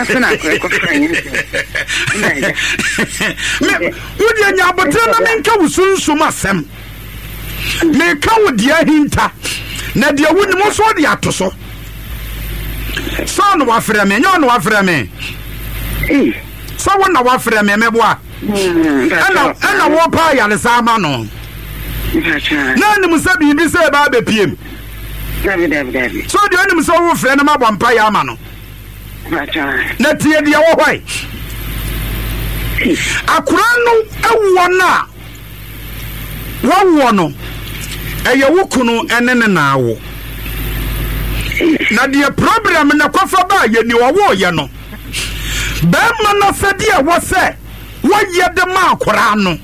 Saa so na akora kɔfra nyɛ sɛ. Ɛna agya. Me, wo deɛ nya aboterɛ na menka wo sunsum asɛm. Meka wo deɛ ahinta, na deɛ wonim nso wode ato so. Sɛ ɔna wafrɛ me, ɛnyɛ ɔna wafrɛ me. Sɛ wo na wafrɛ me, mɛboa. Ɛna ɛna wɔpa ayaresa ama no. Na anim sɛ biribi sɛ ɛba abɛpiem. So deɛ onim sɛ wofrɛ no mabɔ mpaeɛ ama no. Na tie deɛ wɔ hɔ akora no awoɔ no a wawoɔ no ɛyɛ wo kunu ne ne na awo na deɛ problem na kɔfa baa yɛ ni ɔwoɔyɛ no bɛrima no sɛdeɛ ɛwɔ sɛ wɔyɛ de ma akora no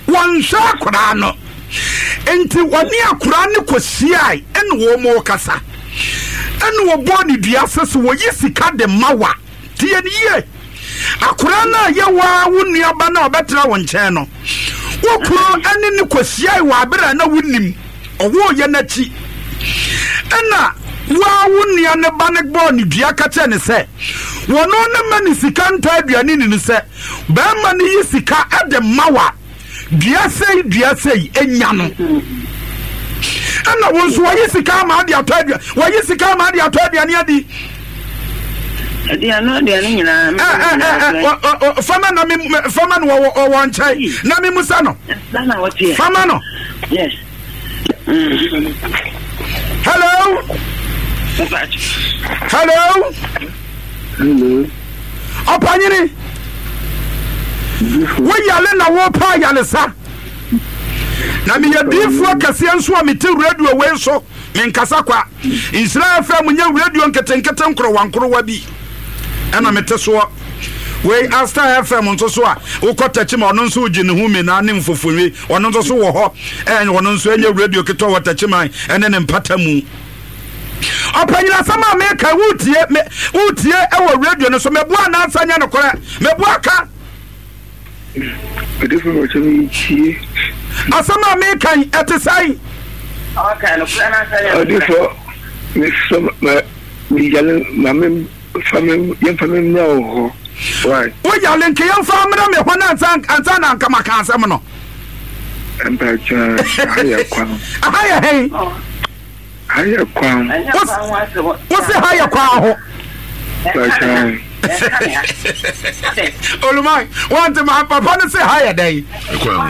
wɔnhwɛ akora no nti wɔne akora no kɔhyiae ɛne wɔn mu kasa ɛne wɔbɔɔ ne dua sɛ sɛ wɔyi sika de ma wa Tie no yie. Akwadaa no a ɛyɛ wo ara wo nuaba no a ɔbɛtena wo nkyɛn no, wo kunu ne no kɔhyiae wɔ abere a na wonim ɔwooyɛ no akyi. Ɛna wo ara wo nua no ba no bɔɔ ne dua ka kyerɛ ne sɛ wɔno ne ma ne sika ntɔ aduane ni no sɛ bɛrima no yi sika de ma wa Dua sei dua sei enya no. Ɛna wo nso wɔyi sika ama ade atɔ aduane wɔyi sika ama ade atɔ aduane adi. Aduane aduane nyinaa. Ɛ ɛ ɛ ɛ fama na mi fama no wɔ wɔ nkyɛn na mi musa no. Fama no. Yes. Hello. Hello. Hello. Ɔpanyini. Wo yale na wo pa ayalesa. Na meyɛ diifoɔ kɛseɛ nso a mete radio wei so menkasa kwa. Nhyira FM nyɛ radio nketenkete nkorowa nkorowa bi ɛna mete soɔ. Wei Asta FM nso so a wokɔ tɛkyi ma ɔno nso gye ne ho mena ne mfofonwi ɔno nso so wɔ hɔ ɛn ɔno nso ɛnyɛ radio ketewa wɔ tɛkyi man ɛne ne mpata mu. Ɔpanyin asɛm a meka wotie me wotie ɛwɔ radio no so meboa anaasɛ nyɛ nokorɛ meboa ka. Odifo bɛkyɛ me tie. Asɛm a meka yi ɛte sɛn? Odifo mesɔ ma meyale ma me fa me yɛmfa me mmra wo hɔ. Why? Woyale nka yɛmfa mmra me hɔ na ansa ansa na anka maka asɛm no. Mpakyɛ aha yɛ kwan. Aha yɛ hɛn. Ha yɛ kwan. Wose ha yɛ kwan ho. Oluman, wante ma papa no se ha yɛ dɛn?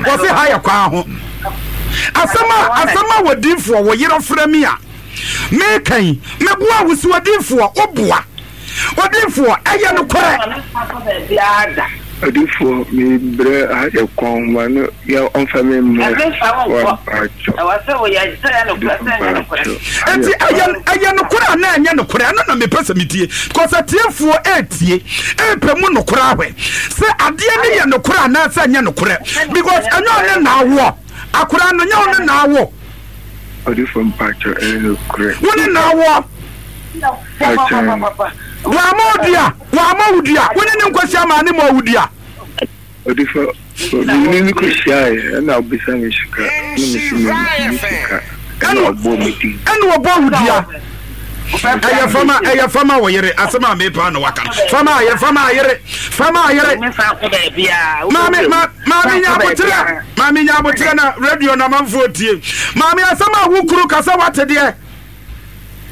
Wɔse ha yɛ kwan ho. Asɛm a asɛm a wɔdiifoɔ wo yerɛ frɛ mi a meka yi meboa wo si wɔdiifoɔ woboa. Odiyifoɔ, ɛyɛ nokorɛ. Odiyifoɔ, mebrɛ ayɛ kɔn ma no yɛ ɔmfa me mmrɛ wa mpakyɛ. Enti ɛyɛ ɛyɛ nokorɛ anaa ɛnyɛ nokorɛ? Ɛno na mepɛ sɛ metie because atiefoɔ ɛretie ɛrepɛ mu nokorɛ ahwɛ sɛ adeɛ no yɛ nokorɛ anaasɛ ɛnyɛ nokorɛ because ɛnyɛ ɔne na awoɔ akwadaa no nyɛ ɔne na awo. Odiyifoɔ mpakyɛ ɛyɛ nokorɛ. Wo ne na awoɔ. Wamma wo dua, wamma wo dua. Wo ne ne nkɔhyia maa ne ma wo dua. Odifa, me ne no kɔhyiaeɛ ɛna ɔbisa me sika ɛna mese menni sika ɛna ɔbɔɔ me din. Ɛna ɔbɔɔ wo dua. Ɛyɛ fama ɛyɛ fama wɔ yere asɛm a mepa na waka no fama ayɛ fama ayere fama ayere. Maame ma maame nya aboterɛ maame nya aboterɛ na radio na manfoɔ tie maame asɛm a wo kuru kasa wate deɛ.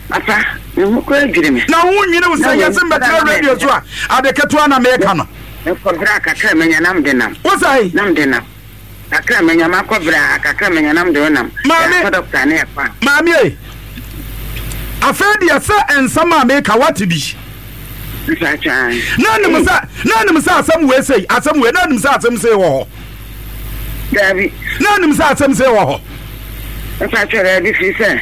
Papa, me ho koraa dwiri me. Na wo ho nnwiri wo sɛ yɛse mbɛtena radio so a, ade ketewa na meka no. Mekɔ bra kakra manya na mede nam. Wo sɛe? Na mede nam. Kakra manya makɔ bra kakra manya na mede nam. Maame. Yɛakɔ dɔkta ne yɛkɔ a. Maame ei, afei deɛ sɛ nsɛm a meka woate bi. Mpakyɛ. Na nim sɛ, na nim sɛ asɛm wei sei, asɛm wei, na nim sɛ asɛm sei wɔ hɔ. Daabi. Na nim sɛ asɛm sei wɔ hɔ. Mpakyɛ daabi firi sɛ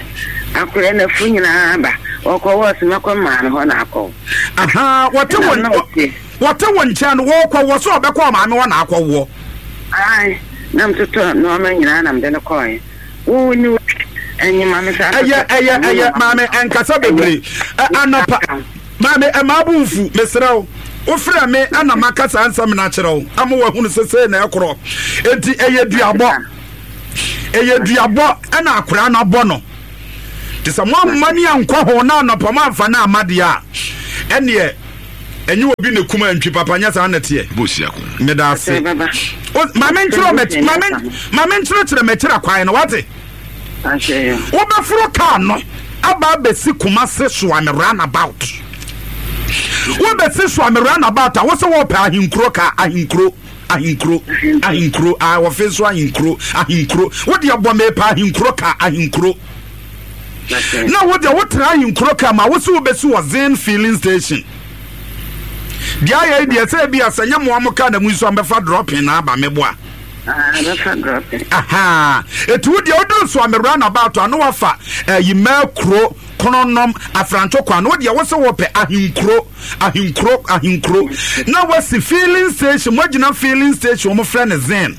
akora na fu nyinaa ba wɔkɔ wɔ soma kɔ maa no hɔ na akɔ. Aha wɔte wɔn wɔte wɔn nkyɛn no wɔkɔ wɔ so ɔbɛkɔ ɔmaame hɔ na akɔ woɔ. Ayi na mtotɔ nneɛma nyinaa na mede no kɔɛ. Wo ni wo ɛnyima me saa. Ɛyɛ ɛyɛ ɛyɛ maame ɛnkasa bebree anɔpa. Maame, mma bo mfu, mesrɛ wo. Wofrɛ me na maka saa nsɛm no akyerɛ wo ama woahunu sɛ sei na ɛkorɔ. Enti ɛyɛ duabɔ. Ɛyɛ duabɔ ɛna akoraa no abɔ no. Te sɛ moamma ni ankɔ ho na anɔpa moamfa no amma deɛ a, ɛneɛ. Ɛnyɛ obi na kum antwi papa nyɛ saa na ɛteɛ. Meda ase. Ma menkyerɛkyerɛ m'akyira kwan no wate. Wobɛforo kaa no aba abɛsi Kumase Soame roundabout. Wobɛsi Soame roundabout a wo sɛ wɔpɛ ahenkuro kaa ahenkuro ahenkuro ahenkuro a wɔfe nso ahenkuro ahenkuro wodeɛ bɔ mepɛ ahenkuro kaa ahenkuro. Na wo deɛ wotena ahenkuro kaa ma wo sɛ wobɛsi wɔ Zen filling station. Deɛ ayɛ yi deɛ sɛ ebi a sɛ nyɛ moa mo kaa na mu nso ambɛfa dropping na aba meboa. Bɛfa dropping. Aha. Eti wo deɛ woduru so ame round about a na wafa ɛyi mɛkuro kononom afranto kwan wo deɛ wo sɛ wɔpɛ ahenkuro ahenkuro ahenkuro na wasi filling station mo agyina filling station wɔn frɛ no zen.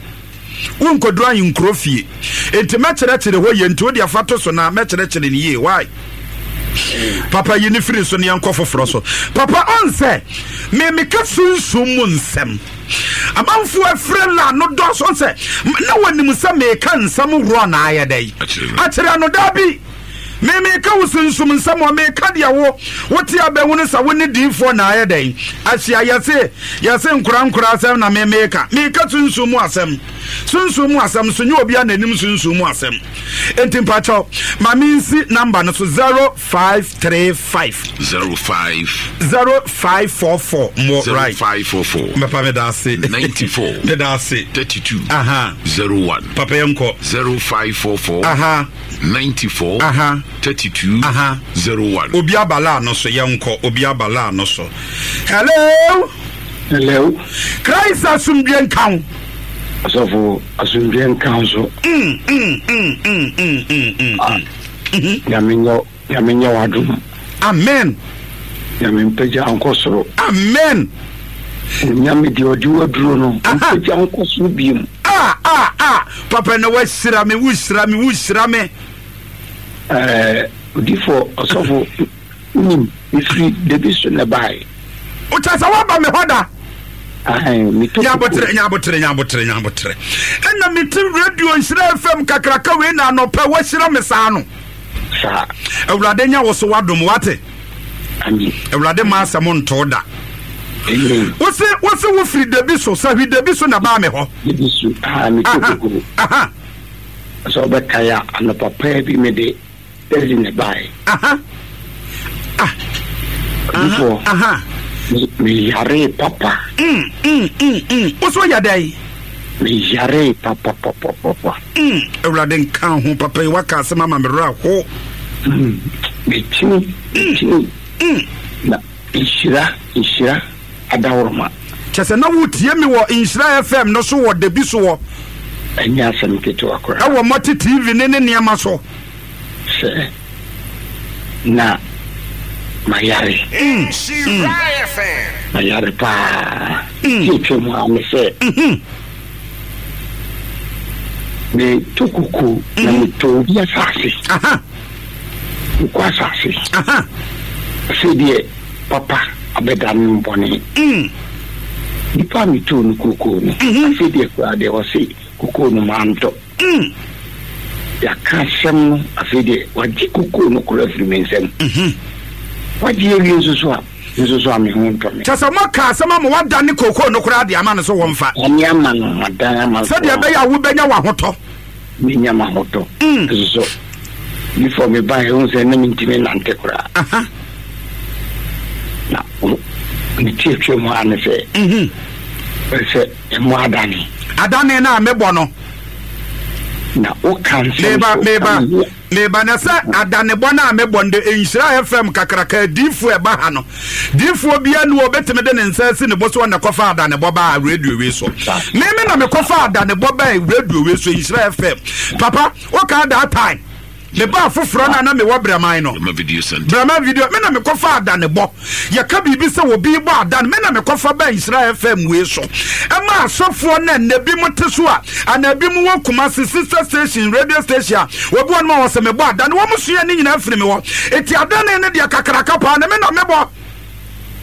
Wonkɔduru ahenkuro fie. Enti mɛkyerɛkyerɛ hɔ yie nti wo deɛ fa to so na mɛkyerɛkyerɛ no yie. Why? Papa yi ne firi so ne yɛnkɔ foforɔ so. Papa ɔn sɛ me meka sunsum mu nsɛm. Amanfoɔ afire la no dɔɔso ɔn sɛ na wɔnim sɛ meka nsɛm worɔ na ayɛ dɛ akyerɛ no daabi. Me meka wo sunsum nsɛm ɔ meka deɛ wo wote abɛhunu sɛ wo ne diifoɔ na ayɛ dɛn ahyia yɛse yɛse nkora nkora asɛm na me meka meka sunsum mu asɛm sunsum mu asɛm so nyɛ obia n'anim sunsum mu asɛm enti mpakyɛw ma mensi namba no so 0535 05 0544 mo right 0544 mɛpa meda ase 94 meda ase 32 aha 01 papa yɛnkɔ 0544 aha 94 Aha. 32 Aha. 01. Obi aba laa no so yɛnkɔ obi aba laa no so hello. Hello. Christ asomdwe nka wo. Asɔfo asomdwe nka wo so. Mm, mm, mm, mm, mm, mm, mm. Ah, Nyame nyɛ Nyame nyɛ w'adom. Amen. Nyame mpagya nkɔ soro. Amen. Onyame deɛ ɔde waduro no mpagya nkɔ soro biom. Ah ah ah papa na wahyira me wohyira me wohyira me. Ɛɛ odifo ɔsɔfo wonim mefiri dabi so na ɛbaeɛ. Wokyɛ sɛ woaba me hɔ da. Metɔ nyabotere nyabotere nyabotere nyabotere ɛna mete radio nhyira fm kakraka wei na anɔpɛ wahyira me saa no. Saa. Awurade nya wo so wadom wate. Amen. Awurade ma asɛm ntoo da. Amen. Wose wose wofiri dabi so sahwi dabi so na baa me hɔ. Dabi so aa me to koko. Aha. Sɛ ɔbɛkae a anɔpa paa bi mede taxi na ɛbaeɛ. Aha. Ah. Odifoɔ. Aha. Meyaree papa. Mm mm mm mm. Wo so yɛ dɛn? Meyaree papapapapa. Mm, Awurade nka ho papa yi waka asɛm ama me werɛ ho. Mm, mekyini, mekyini. Mm. Na nhyira, nhyira adaworoma. Kyɛ sɛ na wotie me wɔ Nhyira FM no so wɔ dabi so wɔ. Ɛnyɛ asɛm ketewa koraa. Ɛwɔ Mɔte TV ne ne nneɛma so. Sɛ na mayare. Mm, mm. Mayare paa. Mm. Ti atwa mu a ne sɛ. Mm-hmm. Metɔ koko na mm-hmm. metɔ obi asase. Mekɔ asase. Afei deɛ papa abɛda no bɔne. Mm. Nipa a metɔɔ no kokoo no, mm-hmm. afei deɛ koraa deɛ ɔse kokoo no mantɔ. Mm. Yɛaka asɛm no, afei deɛ wagye kokoo no koraa afiri me nsam. Mm-hmm. Wagye awie nso so a, nso so a me ho ntɔ me. Kyɛ sɛ moaka asɛm ama wadane kokoo no koraa de ama no so wɔmfa. Ane ama no, madan ama no. Sɛdeɛ ɛbɛyɛ a wobɛnya w'ahotɔ. Menya m'ahotɔ. Mm. Nso so, before mebaeɛ, wohu sɛ na mentumi nnante koraa. Aha. Na ne ti atwa mu ara ne sɛ, mm-hmm. sɛ ɛmo adane. Adane no a mebɔ no. Na woka nsɛm meba so. Meba meba na sɛ adanebɔ no a mebɔ no de nhyira fm kakraka adiifoɔ ɛba ha no diifoɔ bia ni wɔbɛtumi de ne nsa asi ne bo so ɔna kɔfa adanebɔ baa radio wei so meme na mekɔfa adanebɔ baa radio wei so nhyira fm papa woka that time mebaa foforɔ no a na mewɔ brɛman no Brɛma video center. Brɛma video me na mekɔfa adanebɔ yɛka biribi sɛ obi bɔ adan me na mekɔfa baa nhyira fm wei so ɛma asɔfoɔ no ɛnɛ bi mo te so a anaa bi mo wɔ Kumasi sister station radio station a obi wɔn ma wɔ sɛ mebɔ adan wɔn sua ne nyinaa firi me hɔ eti adane ne deɛ kakraka paa na me na mebɔ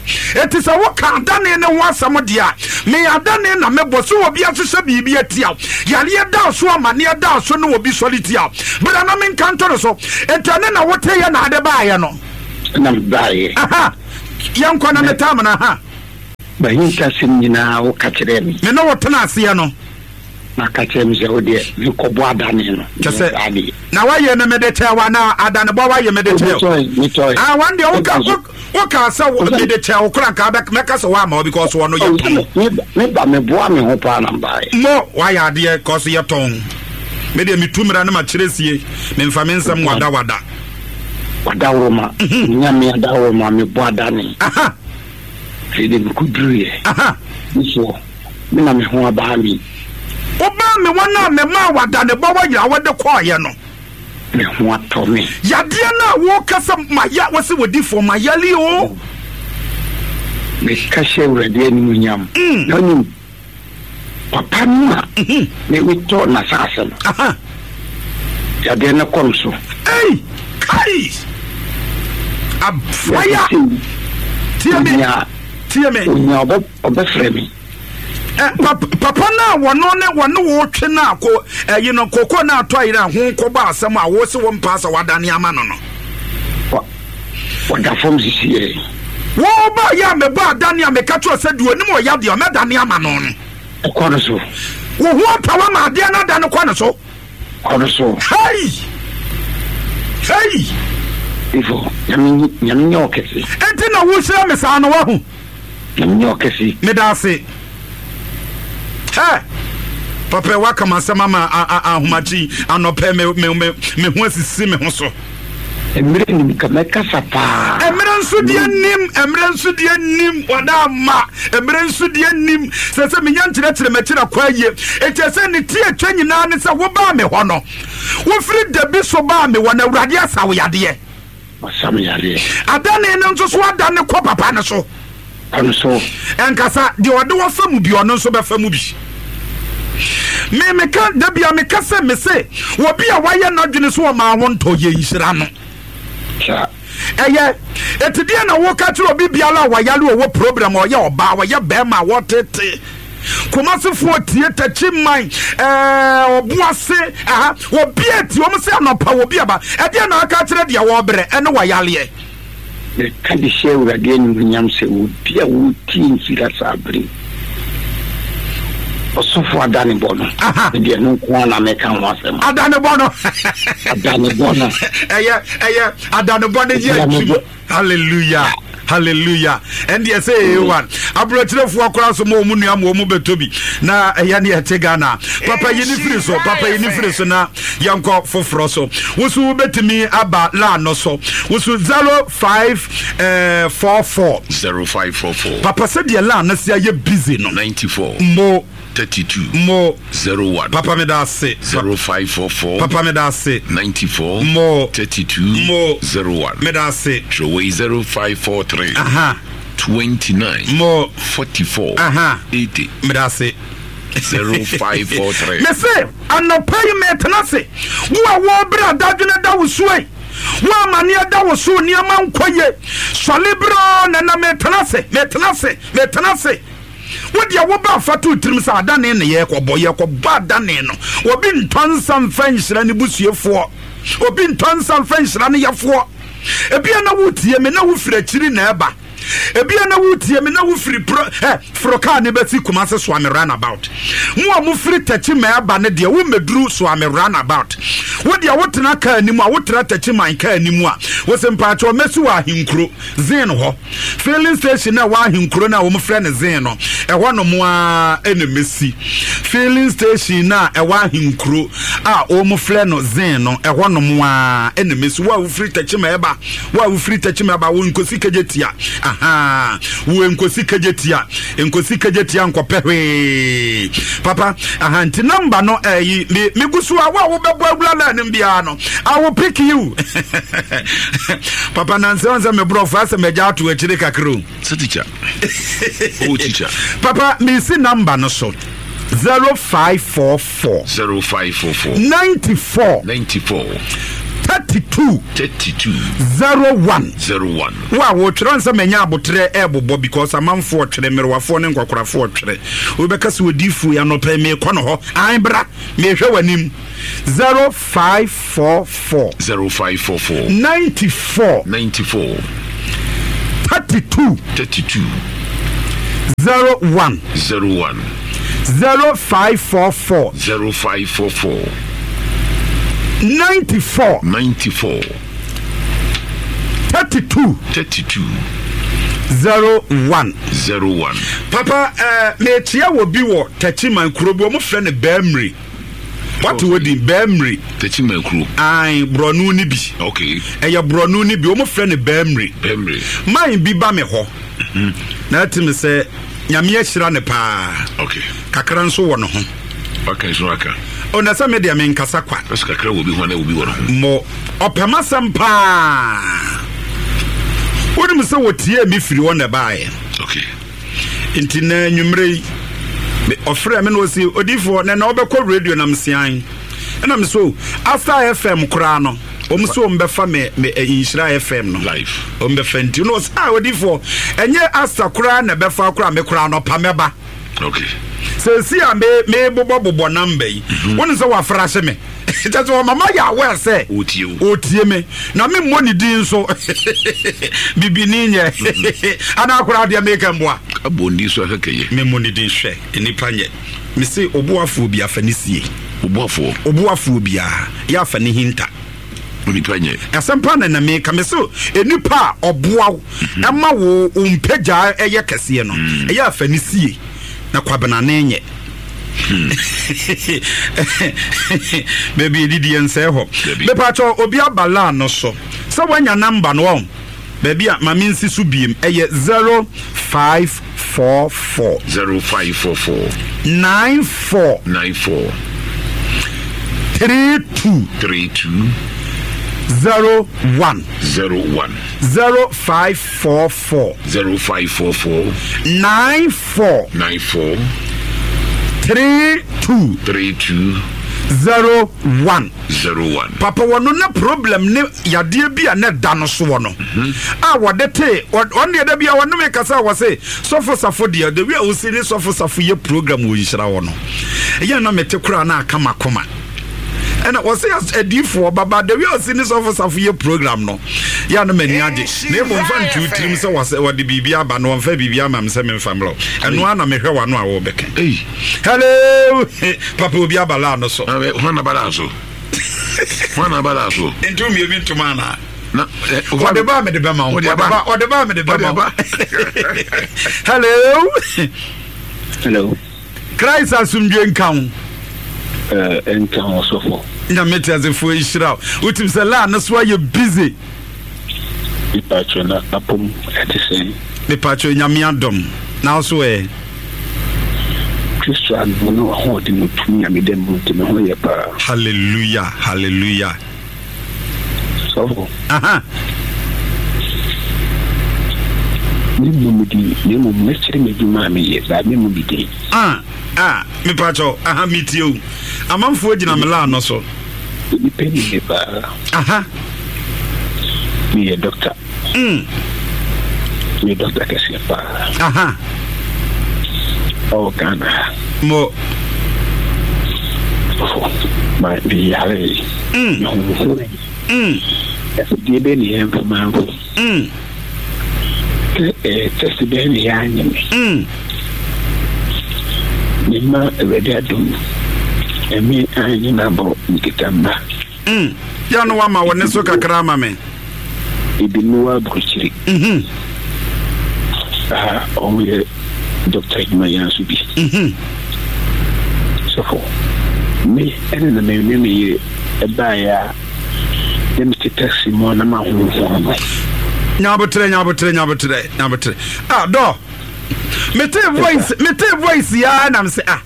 Enti sɛ woka adane no ho asɛm deɛ a, me adane na mebɔ. Sɛ obi ahyehyɛ biribi atia wo, yareɛ da so, amaneɛ da so, ne obi sɔre tia wo, bra na menka nto no so. Enti ɛne na woteeɛ na ade baeɛ no. Na mebaeɛ. Aha, yɛnkɔ na metaa mo no. Aha. M'ahintasɛm nyinaa woka kyerɛɛ me. Me ne wo tena aseɛ no. Na ka kyerɛ me sɛ wo deɛ mekɔbɔ adane no. Kyɛ sɛ na wayɛ no mede kyɛ wa na adanebɔ wayɛ mede kyɛ. Metɔe. Ah wɔn deɛ woka woka sɛ mede kyɛ wo kora nka mɛka sɛ woama wo because wɔno yɛ tɔn. Meba meboa me ho paa na mbaeɛ. Mo wayɛ adeɛ kɔso yɛ tɔn. Me deɛ metu mmara no makyerɛ sie memfa me nsɛm wadawada. Wadaworoma nyame adaworoma mebɔ adane. Afei de mekɔduruiɛ. Mesoɔ, me na me ho abaa me. Wobaa me wɔn a memaa w'adanebɔ wɔ yera wode kɔeɛ no. Me ho atɔ me. Yadeɛ no a woka sɛ maya, wose wodifoɔ mayale o. Meka hyɛ Awurade animuonyam. Na wonim, Papa no a me metɔ n'asase no, yadeɛ no kɔ no so. Ei! Kai! Aboya! Tie me! Tie me! Onya ɔbɛfrɛ me. Eh, papa no a wɔno ne wɔne wo twe no a ko ɛyi no koko no atɔ ayere a ho kɔbɔ asɛm a wo se wo mpaa sɛ wadane ama no no. Ɔda fam sisiɛ. Wo ba yɛ a mebɔ adane a meka kyerɛ sɛ deɛ onim ɔya deɛ ɔmɛdane ama no no. Kɔ no so. Wo ho atɔ wo ama adeɛ no adane kɔ no so. Kɔ no so. Hey! Hey! Ifo, nyame nyame nyɛ ɔkɛse. Enti na wohyira me saa no wahu. Nyame nyɛ ɔkɛse. Meda ase. Hɛ! Papa waka m'asɛm ama ahomakye anɔpɛ me me me me ho asisi me ho so. Mmerɛ nim ka mɛkasa paa. Mmerɛ nso deɛ nim, mmerɛ nso deɛ nim, wada ama. Mmerɛ nso deɛ nim, sɛ sɛ menya nkyerɛkyerɛ m'akyiri akɔ ayie. Enti ɛsɛ ne ti atwa nyinaa ne sɛ wobaa me hɔ no, wofiri dabi so baa me hɔ no, Awurade asa wo yadeɛ. Wasa me yadeɛ. Adane no nso so adane kɔ papa no so. Kɔ no so. Ɛnkasa, deɛ ɔde wɔ fa mu bi, ɔno nso bɛfa mu bi. Me meka da bia meka sɛ me se obi a wayɛ n'adwene so ɔmaa ho ntɔ yɛ nhyira no. Ɛyɛ eti deɛ na woka kyerɛ obi biara a wayare ɔwɔ problem ɔyɛ ɔbaa ɔyɛ bɛrima a wɔtete Kumasefoɔ tie takyi man ɛɛ ɔboase aha obi eti wɔn sɛ anɔpa obi aba ɛdeɛ na aka kyerɛ deɛ wɔbrɛ ɛne wɔyaleɛ. Meka de hyɛ Awurade animuonyam sɛ obi a ɔretie nhyira saa bere yi, ɔsɔfo adanebɔ no, me deɛ ɛno nko ara na meka ho asɛm. Adanebɔ no. Adanebɔ no. Ɛyɛ ɛyɛ adanebɔ no yɛ adwuma. Hallelujah. Hallelujah. Ɛndeɛ sɛ ɛyɛ one. Aburokyerefoɔ koraa so ma wɔn nua ma wɔn bɛtɔ bi. Na ɛyɛ ne ɛte Ghana. Papa yi ne firi so. Papa yi ne firi so na yɛnkɔ foforɔ so. Woso wobɛtumi aba line no so. Woso 0544. 0544. Papa sɛdeɛ line no se ayɛ busy no. 94. Mo. 32. Mo. 01. Papa me da ase. 0544. Papa me da ase. 94. Mo. 32. Mo. 01. Me da ase. Twerɛwei 0543. Aha. 29. Mo. 44. Aha. 80. Me da ase. 0543. Me se anɔpa yi metena ase. Wo a wɔrebrɛ adadwene da wo so yi. Wo amaneɛ da wo so nneɛma nkɔ yie. Sɔle berɛ na na metena ase. Metena ase. Metena ase. Wo deɛ wo ba fa to tirim sɛ adane ne yɛkɔbɔ yɛkɔbɔ adane no. Obi ntɔ nsa mfa nhyira ne busuefoɔ. Obi ntɔ nsa mfa nhyira ne yɛfoɔ. Ebia na wotie me na wofiri akyiri na ɛba. Ebia na wotie me na wofiri pro ɛ foro kaa ne bɛsi Kumase Soame runabout. Mo a mofiri Takyi ma ɛba no deɛ wommɛduru Soame runabout. Wo deɛ wotena kaa anim a wotena Takyi man kaa anim a wose mpaakyɛw mɛsi wɔ Ahenkuro Zin hɔ. Filling station na ɛwɔ Ahenkuro no a wɔfrɛ no Zin no ɛhɔ nom ara ɛna mɛsi. Filling station na ɛwɔ Ahenkuro a wɔfrɛ no Zin no ɛhɔ nom ara ɛna mɛsi. Wo a wofiri Takyi ma ɛba Wo a wofiri Tekyem aba, wo nkosi Kejetia. Ahaa, wo nkosi Kejetia. Nkosi Kejetia nkɔpɛ hwee. Papa, aha, nti namba no ɛyi, eh, me, me gu so a, wo a wobɛbɔ awura line no biara no, I will pick you. Papa, nansɛ wɔn sɛ me borɔfo asɛ magya ato akyire kakra o. Sɛ teacher. Oh, teacher. Papa, mesi namba no so. 0544. 0544. 94. 94. 32. 32. 01. 01. Wo a wotwerɛ nsɛ manya aboterɛ ɛbobɔ because amanfoɔ twerɛ mmerewafoɔ ne nkwakorafoɔ twerɛ wobɛka sɛ odiifoɔ yi anɔpɛ meekɔ no hɔ an bra mehwɛ w'anim 0544 0544 94 94 32 32. 01. 01. 0544. 0544. 94. 94. 32. 32. 01. 01. Papa, eh, mekyia wɔ bi wɔ Techiman kuro bi, wɔn frɛ no Bɛɛmiri. Wate wɔ din Bɛɛmiri. Techiman kuro. Ae, borɔno ni bi. Okay. Ɛyɛ borɔno ni bi, wɔn frɛ no Bɛɛmiri. Bɛɛmiri. Man bi ba me hɔ. Na ɛte me sɛ Nyame ahyira no paa. Okay. Kakra nso wɔ ne ho. Waka nso aka. O na sɛ me deɛ menkasa kwa. Ɛsɛ kakra wɔ bi ho na obi wɔ ne ho. Mo ɔpɛ m'asɛm paa. Wonim sɛ wɔtiee me firi hɔ na ɛbaeɛ. Okay. Nti na anwummerɛ yi ɔfrɛ me na ɔsi odiifoɔ na na ɔbɛkɔ radio na mesean. Ɛna me so Asa FM koraa no wɔn so wɔn bɛfa me me eh, nhyira FM no. Life. Wɔn bɛfa nti na ɔsɛ ah odiifoɔ ɛnyɛ Asa koraa na ɛbɛfa koraa me koraa no pa mɛba. Okay. Sɛsi a me me bobɔ bobɔ namba yi. Mhm. Wɔn sɛ wafra hyɛ me. Kyɛ sɛ ɔmama yɛ aware sɛ ɔtie me na me mmɔ ne din nso bibini nyɛ mhm. anaa koraa deɛ meka mboa. Abɔ ndi so akɛkɛyɛ. Me mmɔ ne din hwɛ nnipa nyɛ. Mese oboafoɔ bi afa ne sie. Oboafoɔ. Oboafoɔ biara yɛ afa ne hinta. Onipa nyɛ. Asɛm pa na na meka me so nipa a ɔboa wo mhm. ɛma wo wo mpagyaa ɛyɛ kɛseɛ no mm. ɛyɛ afa ne sie na kwabenane nyɛ. Hmm. Baabi edidi yɛn nsɛɛ hɔ. Mepatwɔ obi aba laa no so sɛ wanya namba no ɔn. Baabi a ma mensi so biem ɛyɛ 0544. 0544. 94. 94. 32. 32. 01. 01. 0544. 0544. 94. 94. 32. 32. 01. 01. Papa wɔno na problem ne yadeɛ bi a na ɛda no soɔ no a wɔde tee ɔno deɛ da bi a wɔne me kasa a wɔse sɔfo safo deɛ the way a wosi ne sɔfo safo yɛ program wɔ nhyira hɔ no ɛyɛ na mete koraa na aka makoma ɛna wɔse adiifoɔ baba the way a wosi ne sɔfo safo yɛ program no yɛ a na m'ani agye na mmom mfa ntu tirim sɛ wɔsɛ wɔde biribi aba na wɔmfa biribi ama me sɛ memfa mmerɛ ɛno ara na mehwɛ w'ano a wɔbɛka hello papa obi aba laa no so Hwan na aba so? Nti wo mmienu ntoma anaa? Na eh, ɔde ba mede bɛma wo. Ɔde ba mede bɛma wo. Hello. Hello. Christ asomdwe nka wo. Eh, nka wo sɔfo. Nyame te asefoɔ nhyira wo. Wotim sɛ laa no so ayɛ busy. Mepatwo na apom ɛte sɛn? Mepatwo nyame adom. Na wo so ɛ? Kristo adom ne w'ahoɔden mu tumi a meda mu nti me ho yɛ paa. Hallelujah hallelujah. Sɔfo. Aha. Me mmu me din na mmom mɛkyerɛ m'adwuma a meyɛ baa me mmu me din. Ah ah mepakyɛw aha metie o amanfoɔ gyina me line no so. Nnipa nim me paa. Aha. Meyɛ doctor. Mm. Meyɛ doctor kɛseɛ paa. Aha. Ɛwɔ Ghana ha. Mo. Ɔfo, ma meyare. Mm. Mehohoro. Mm. Afidie bɛn ne yɛmfa manfo. Mm. Sɛ ɛɛ test bɛn ne yɛanyɛ me. Mm. Mema Awurade adom. Ɛme anyɛ m'abɔ nkita mma. Mm. Yɛ no wama wo ne so kakra ama me. Ebi ne wɔ aburokyiri. Mhm. Ah, ɔmo yɛ dɔkta adwuma yɛn nso bi. Mhm. Sɔfo, me ɛne na me ne me yere ɛbaeɛ a na mete taxi mu a na mahonhon no. Nyabotrɛ, nyabotrɛ, nyabotrɛ, nyabotrɛ. Ah, dɔ. Mete voice, mete voice ya na me sɛ ah.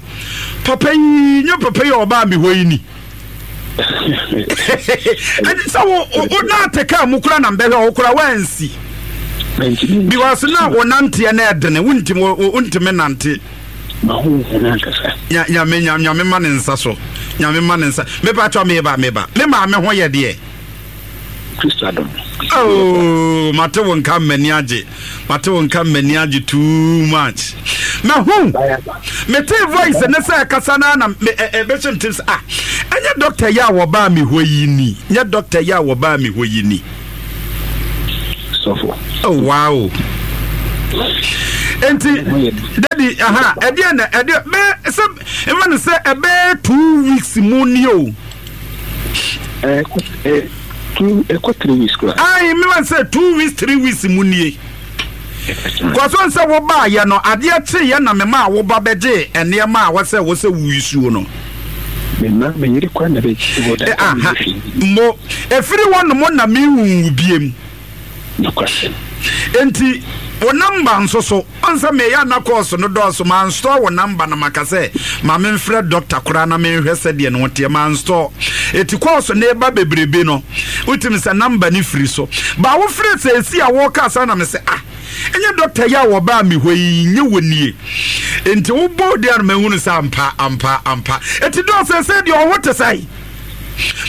Papa yi, nyɛ papa yi a ɔbaa me hɔ yi ni. Ɛne sɛ wo wo na ate kaa mu kora na mbɛhwɛ wo kora wansi because na wo nanteɛ na ɛdene wontimi wontimi nante. Nyame nyame ma ne nsa so nyame ma ne nsa mepa kyɛ meba meba me maame ho yɛ deɛ. Kristo adom. Oh, mate wo nka m'ani agye. Mate wo nka m'ani agye too much. Mahu. Mete voice ne sɛ kasa na na me ɛbɛhyɛ me tirim sɛ ah, ɛnyɛ doctor yi a wɔbaa me hɔ yi ni. Nyɛ doctor yi a wɔbaa me hɔ yi ni. Sɔfo. Oh, wow. Enti daddy aha ɛdeɛ na ɛdeɛ bɛɛ sɛ mma no sɛ ɛbɛyɛ 2 weeks mu ni o. Ɛkɔ two ɛkɔ 3 weeks koraa. Ayi mma sɛ 2 weeks 3 weeks mu nie. Kɔsɔn sɛ wobaayɛ no, adeɛ kyeeɛ na mema a woba bɛgye nneɛma a wɔsɛ wɔsɛ wuisuo no. Mema me yere kwan na bɛgye wɔ da. Aha mo efiri hɔ nom na mehu biem. Nokwasɛm. Enti wo number nso so ɔn sɛ meyɛ ana course no dɔɔso, manstore wo number na maka sɛ ma memfrɛ doctor koraa na menhwɛ sɛdeɛ ne ho teɛ, manstore. Eti course no eba bebrebe no, wotumi sɛ number no firi so. Ba wofrɛ sɛ esi a wɔka saa na me sɛ, ah, ɛnyɛ doctor yi a wɔbaa me hɔ yi, nyɛ wɔ nie. Enti wobɔ deɛ no mahunu sɛ ampa ampa ampa. Eti dɔɔ sɛ sɛ deɛ ɔho te sɛn?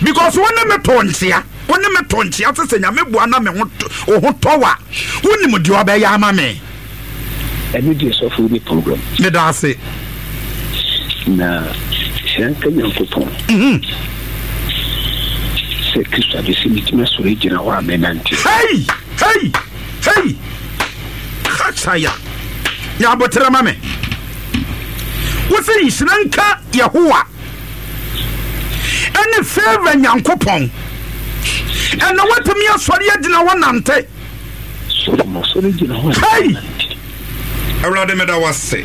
Because wo ne me to nkyea. Wo ne me to nkyea sɛ sɛ Nyame boa na me ho wo ho tɔ wo a, wonim deɛ ɔbɛyɛ ama me. Ɛno deɛ sɔfo wo ni problem. Meda ase. Na hyira nka Nyankopɔn sɛ Kristo abɛsi metumi asɔre agyina hɔ a menante. Hey! Hey! Hey! Kasaya. Nya aboterɛ ma me. Wo sɛ nhyira nka Yehowa. Ɛne favor Nyankopɔn. Ɛna watumi asɔre agyina hɔ nante. Hey! Awurade meda wase.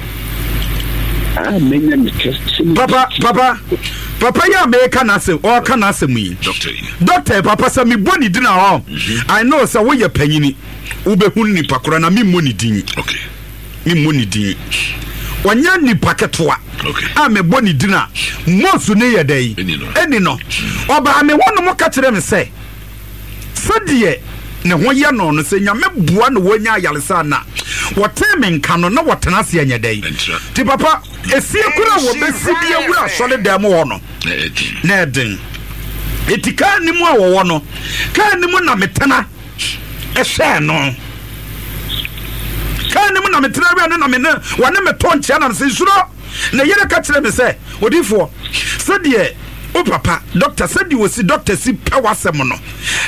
Papa, papa, papa yi a meka n'asɛm, ɔka n'asɛm yi. Doctor papa sɛ mebɔ ne din a ɔ. I know sɛ woyɛ panyini. Wobɛhu nipa koraa na memmɔ ne din. Okay. Memmɔ ne din. Ɔnyɛ nipa ketewa a mebɔ ne din a mosu ne yɛ dɛ ɛni no. Ɔbaa me hɔ nom ka kyerɛ me sɛ sɛdeɛ ne ho yɛ no no, sɛ Nyame boa na wɔnya ayaresa na wɔtee me nka no na wɔtena ase ɛnyɛ dɛ. Nti papa, esie koro a wɔbɛsi de awura asɔre dan mu hɔ no na ɛden. Eti kaa ne mu a wɔwɔ no, kaa ne mu na metena ɛhwɛɛ no. Kaa ne mu na metena wura no na me ne wɔne me to nkyea na mesɛ nsuro. Ne yere ka kyerɛ me sɛ, odifoɔ, sɛdeɛ wo papa dɔkta, sɛdeɛ ɔsi dɔkta si pɛ w'asɛm no,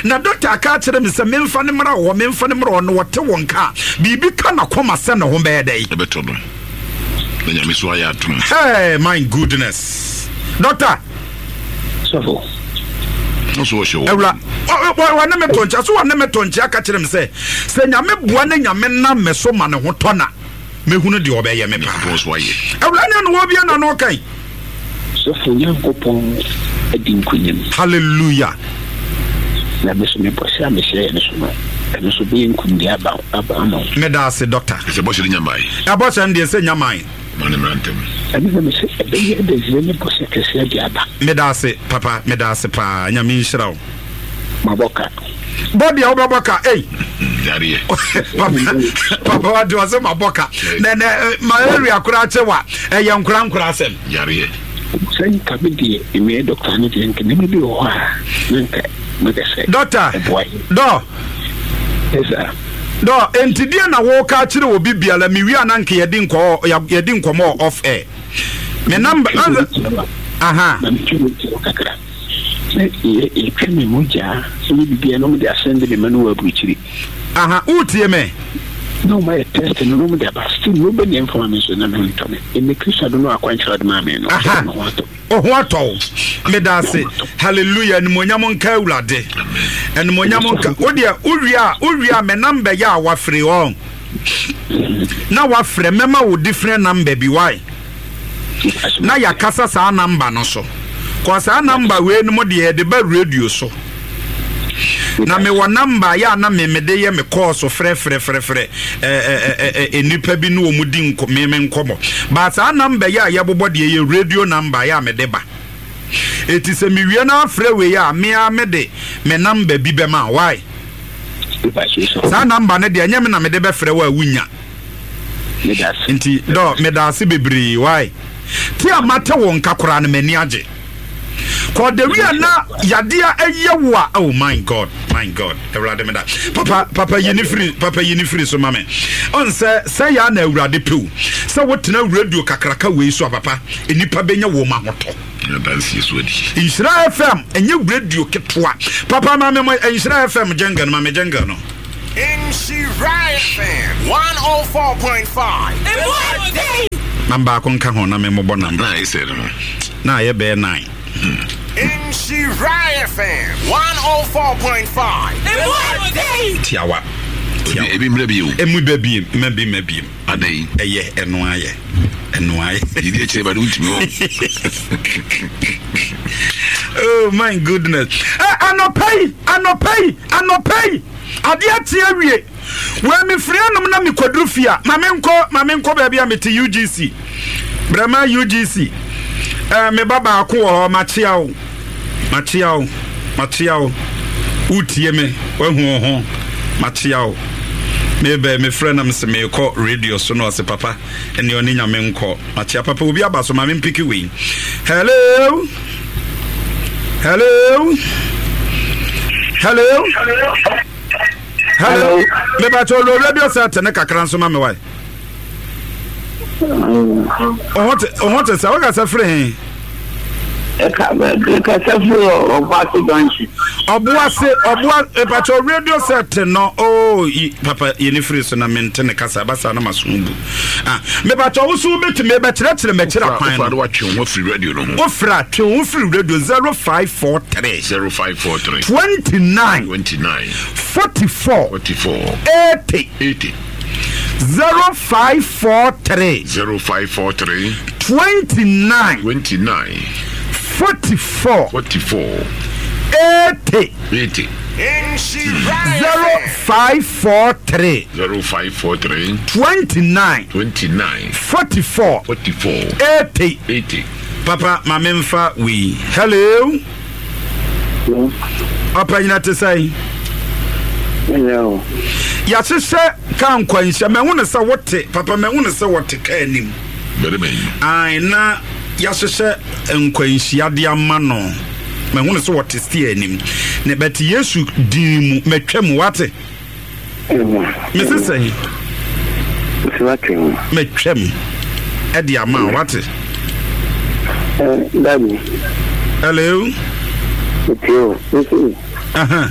na dɔkta aka akyerɛ me sɛ memfa no mmra hɔ, memfa no mmra hɔ, na wɔte wo nka a, biribi ka n'akoma sɛ ne ho bɛyɛ dɛn? Ɛbɛtɔ no. Na Nyame so ayɛ adom. Hey, my goodness. Dɔkta. Sɔfo. Nso ɔhyɛ wɔ. Awura, wɔne me to nkyea, so wɔne me to nkyea ka kyerɛ me sɛ, sɛ Nyame boa ne Nyame nam me so ma ne ho tɔ na mehunu deɛ ɔbɛyɛ me paa. Nyankopɔn so ayɛ. Awura ne ano wɔ bia na no kan. Sɔfo, Nyankopɔn adi nkunim. Hallelujah. Na me so me bɔhyɛ a mehyɛɛ no so no, ɛno nso bɛyɛ nkunimdie aba aba ama wo. Meda ase, Doctor. Ɛsɛ bɔhyɛ no nya mae. Ɛbɔhyɛ no deɛ sɛ nya mae. Ma no mmra ntɛm. Ɛno na mese ɛbɛyɛ adansie ne bɔhyɛ kɛseɛ de aba. Meda ase papa, meda ase paa, Nyame nhyira wo. Mabɔ ka. Bɔ deɛ wobɛbɔ ka, ei. Yareɛ. Papa, papa wate ɔsɛ mabɔ ka. Na na malaria koraa kyɛ wa, ɛyɛ nkora nkora asɛm. Yareɛ. Sɛ nka me deɛ, meyɛ dɔkta no deɛ, nka nneɛma bi wɔ hɔ a, na nka mɛka sɛ Dɔkta, ɛboa yɛn. dɔ. Yes, sir. Dɔ, enti deɛ na wɔka akyerɛ obi biara, mewie a na nka yɛdi nkɔɔ, yɛdi nkɔmɔ off air. Me number, aha. Na metwe me ti kakra. Sɛ yɛtwe me mogya, sɛ yɛ biribiara na wɔde asɛnde me ma no wɔ aburukyiri. Aha, wotie me? Na wɔn ayɛ test no na wɔn de aba, still no bɛ nea nfa ma me nso na me ho ntɔ me. Ɛnɛ Kristo adom no akwankyerɛ ɔde maa me no, Aha. me ho atɔ me. Wo ho atɔ wo. Meda ase. Hallelujah. Animuonyam nka Awurade. Animuonyam nka. Wo deɛ wowie a wowie a me number yɛ a wafrɛ ɔn. Na wafrɛ mɛma wo different number bi why? Na yɛakasa saa number no so. Kɔ saa number wei no mo deɛ yɛde ba radio so. Na mewɔ number yɛ a na me mede yɛ me call so frɛfrɛfrɛfrɛ ɛɛ nnipa bi ne wɔn di nkɔ me me nkɔmɔ. But saa number yɛ a yɛbobɔ deɛ yɛ radio number yɛ a mede ba. Eti sɛ mewie na afrɛ wei a me ara mede me number bi bɛma why? Saa number no deɛ ɛnyɛ me na mede bɛfrɛ wo a wunya. Nti dɔ meda ase bebree why? Te a mate wo nka koraa no m'ani agye. Kɔ the way a na yadeɛ ɛyɛ wo a, oh my God, my God, Awurade meda. Papa, papa yi ne firi, papa yi ne firi so ma me. Ɔn sɛ sɛ yɛ na Awurade pew sɛ wotena radio kakraka wei so a papa, nnipa bɛnya wɔn ahotɔ. Nhyira FM ɛnyɛ radio ketewa. Papa ma me mo Nhyira FM jingle no, ma me jingle no. Nhyira FM 104.5. Emu ɔden. Na baako nka ho na memmobɔ nam. Na ayɛ sɛ no no. Na ayɛ bɛyɛ nine. Nhyira FM 104.5. Emu ɔden. Tiawa. Tiawa. Ebi mmerɛ bio. Emu bɛ biem, mma bi mma biem. Adɛn? Ɛyɛ ɛno ayɛ. Ɛno ayɛ. Yɛdi akyire ba de wontumi hɔ. Oh my goodness. Eh, anɔpa yi, anɔpa yi, anɔpa yi, adeɛ ate awie. Wei mefiri anom na mekɔduru fie a, ma menkɔ, ma menkɔ baabi a mete UGC. Brɛma UGC. Eh, me ba baako wɔ hɔ, makyea wo. Makyea wo, makyea wo. Wotie me, wahu wo ho. Makyea wo. Mebɛ, mefrɛ na mese meekɔ radio so na ɔse papa, ɛne ɔne nyame nkɔ. Makyea papa, obi aba so ma mempiki wei. Hello? Hello? Hello? Hello? Mebakyɛ ɔlɔ radio set ne kakra nso ma me wae. Ɔho te sɛ wokasa firi he? Kasa firi Ɔboase junction. Ɔboase ɔboa mepakyɛ radio set no oo yi papa yi ne firi so na mente ne kasa ɛba saa na maso bu. Ah mepakyɛ wo so wobɛtumi bɛkyerɛkyerɛ m'akyira kwan no. Wofra watwe wo ho afiri radio no ho. Wofra twe wo ho firi radio 0543. 0543. 29. 29. 44. 44. 80. 80. 0543. 0543. 29. 29. 44. 44. 80. 80. 0543. 0543. 29. 29. 44. 44. 80. 80. Papa, ma memfa wei. Hello. Ɔpanyina te sɛn? Yɛahyehyɛ kaa nkwanhyia. Mahu no sɛ wote, papa mahu no sɛ wɔte kaa anim. Ae, na yɛahyehyɛ nkwanhyia de ama no. Mahu no sɛ wɔte steer anim. Ne bɛte Yesu din mu, matwa mu, wate? Mese sɛn? Matwam ɛde ama wo, wate? Daddy. Hello. Metie o. Mese. Aha.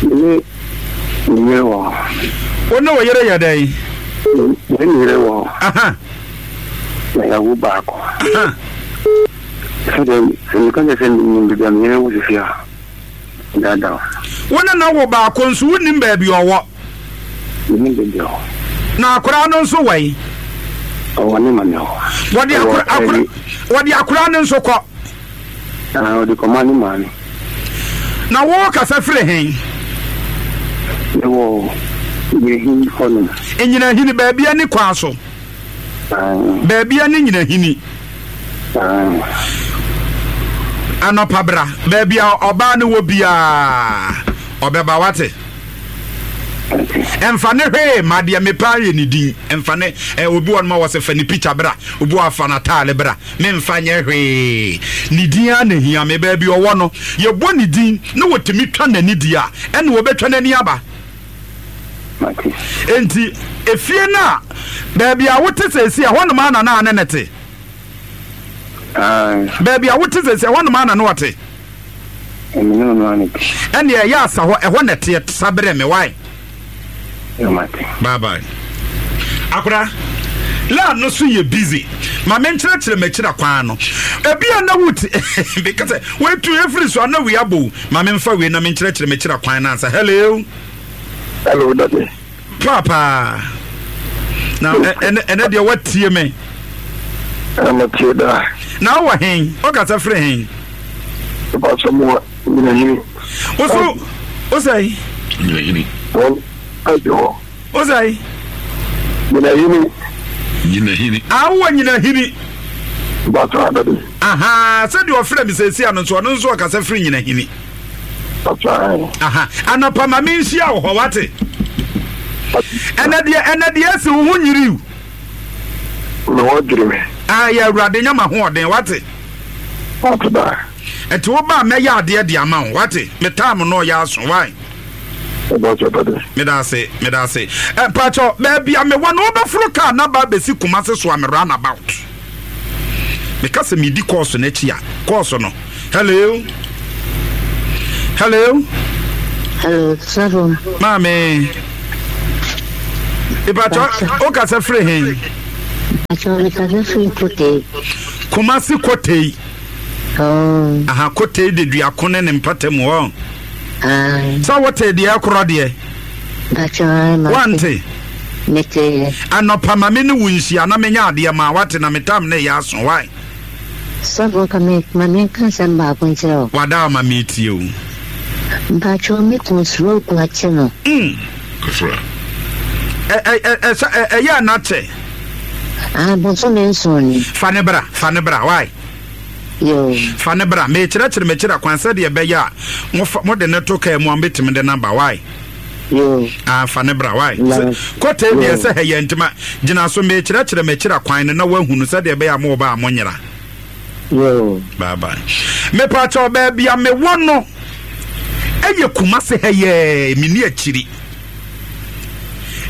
Me ne me yere wɔ hɔ. Wo ne wo yere yɛ dɛn? Me ne me yere wɔ hɔ. Aha. Na yɛawo baako. Aha. Sɛ dɛ sɛ meka kyerɛ sɛ menim baabi a me yere wɔ sisi a. Dada. Wo ne no wo baako nso wonnim baabi ɔwɔ. Mennim baabi ɔwɔ. Na akoraa no nso wɔ yi? Ɔwɔ ne maame hɔ. Wɔde akora akora wɔde akoraa no nso kɔ. Ah, ɔde kɔma ne maame. Na wo kasa firi he? Mewɔ Nyinahini hɔnom. Nyinahini baabi ani kwan so. Baabi a ne nyinahini. Anɔpa bra, baabi a ɔbaa no wɔ biara, ɔbɛba wate. Ɛmfa ne hwee ma deɛ mepɛ ayɛ ne din. Ɛmfa ne ɛ obi wɔ no ma wɔ sɛ fa ne pikya bra, obi wɔ afa n'ataale bra. Memfa nyɛ hwee. Ne din ara na ehia me. Baabi ɔwɔ no, yɛbɔ ne din na wɔtumi twa n'ani deɛ a, ɛna wɔbɛtwa n'ani aba. Mate. Enti, efie no a baabi a wote seesei, ɛhɔnom ara na na ne ne te? Aane. Baabi a wote seesei, ɛhɔnom ara na na ɔte? Ɛme ne ɔno ara na ɛte. Ɛnneɛ ɛyɛ asa hɔ, ɛhɔ na ɛteɛ, sa brɛ me, wai? Yo, mate. Bye bye. Akora, line no so yɛ busy. Ma menkyerɛkyerɛ m'akyira kwan no. Ebi a na wote, meka sɛ, woatu efiri so a na wei abɔ o. Ma memfa wei na menkyerɛkyerɛ m'akyira kwan no ansa. Hello. Hello, daddy. Papa. Na ɛnɛ ɛnɛ deɛ watie me. Ɛna daa. Na wowɔ hen? Wokasa firi hen? Ɛpasɛ mo wɔ Nyinahini. Woso wosɛe? Nyinahini. Wɔn agye hɔ. Wosɛe? Nyinahini. Nyinahini. Ah, wowɔ Nyinahini. Bàtà adade. Aha, sɛdeɛ ɔfrɛ me sɛsi ano nso ɔno nso ɔkasa firi Nyinahini. Aha, anɔpa ma menhyia wo hɔ wate. Ɛnɛ deɛ ɛnɛ deɛ esi wo ho nyiriw. Me ho adwiri me. Ah, yɛ awurade nya ma hoɔden wate. Wate daa. Ɛnti wo ba mɛyɛ adeɛ de ama wo wate. Me time no ɔyɛ aso why. Meda ase, meda ase. Ɛ pakyɛ baabi a mewɔ no wobɛforo kaa na ba bɛsi Kumase so a me run about. Meka sɛ medi kɔɔso no akyi a, kɔɔso no. Hello? Hello? Hello, sɔfo. Maame. Ìbàtɔ o kasa firi hin. Ìbàtɔ mi kasa firi Kotei. Kumasi Kotei. Oh. Aha Kotei de duako ne ne mpata mu hɔ. Ah. Sɛ wote deɛ ɛkorɔ deɛ. Bàtɔ ma. Wante. Mete. Anɔpa ma me ne wo nhyia na menya adeɛ ma wate na metam ne yɛ aso wae. Sɔfo nka me ma me nka asɛm baako nkyerɛ wo. Wada ama me tie o. Mpakyɛw me kun stroke akye no. Mm. Kafra. Ɛ ɛ ɛ ɛ ɛyɛ ana kyɛ. Ah bosome nson ni. Fa ne bra fa ne bra why. Yoo. Fa ne bra mekyerɛkyerɛ mekyerɛ kwan sɛdeɛ ɛbɛyɛ a mo fa mo de ne to kaa mu a mobɛtumi de no aba why. Yoo. Ah fa ne bra why. Na. Kɔtɛ deɛ Yoo. sɛ ha yɛ ntima gyina so mekyerɛkyerɛ mekyerɛ kwan no na woahunu sɛdeɛ ɛbɛyɛ a mo ba a monyera. Yoo. Bye bye. Mepakyɛw baabi a mewɔ no ɛyɛ Kumase ha yɛɛ menni akyiri.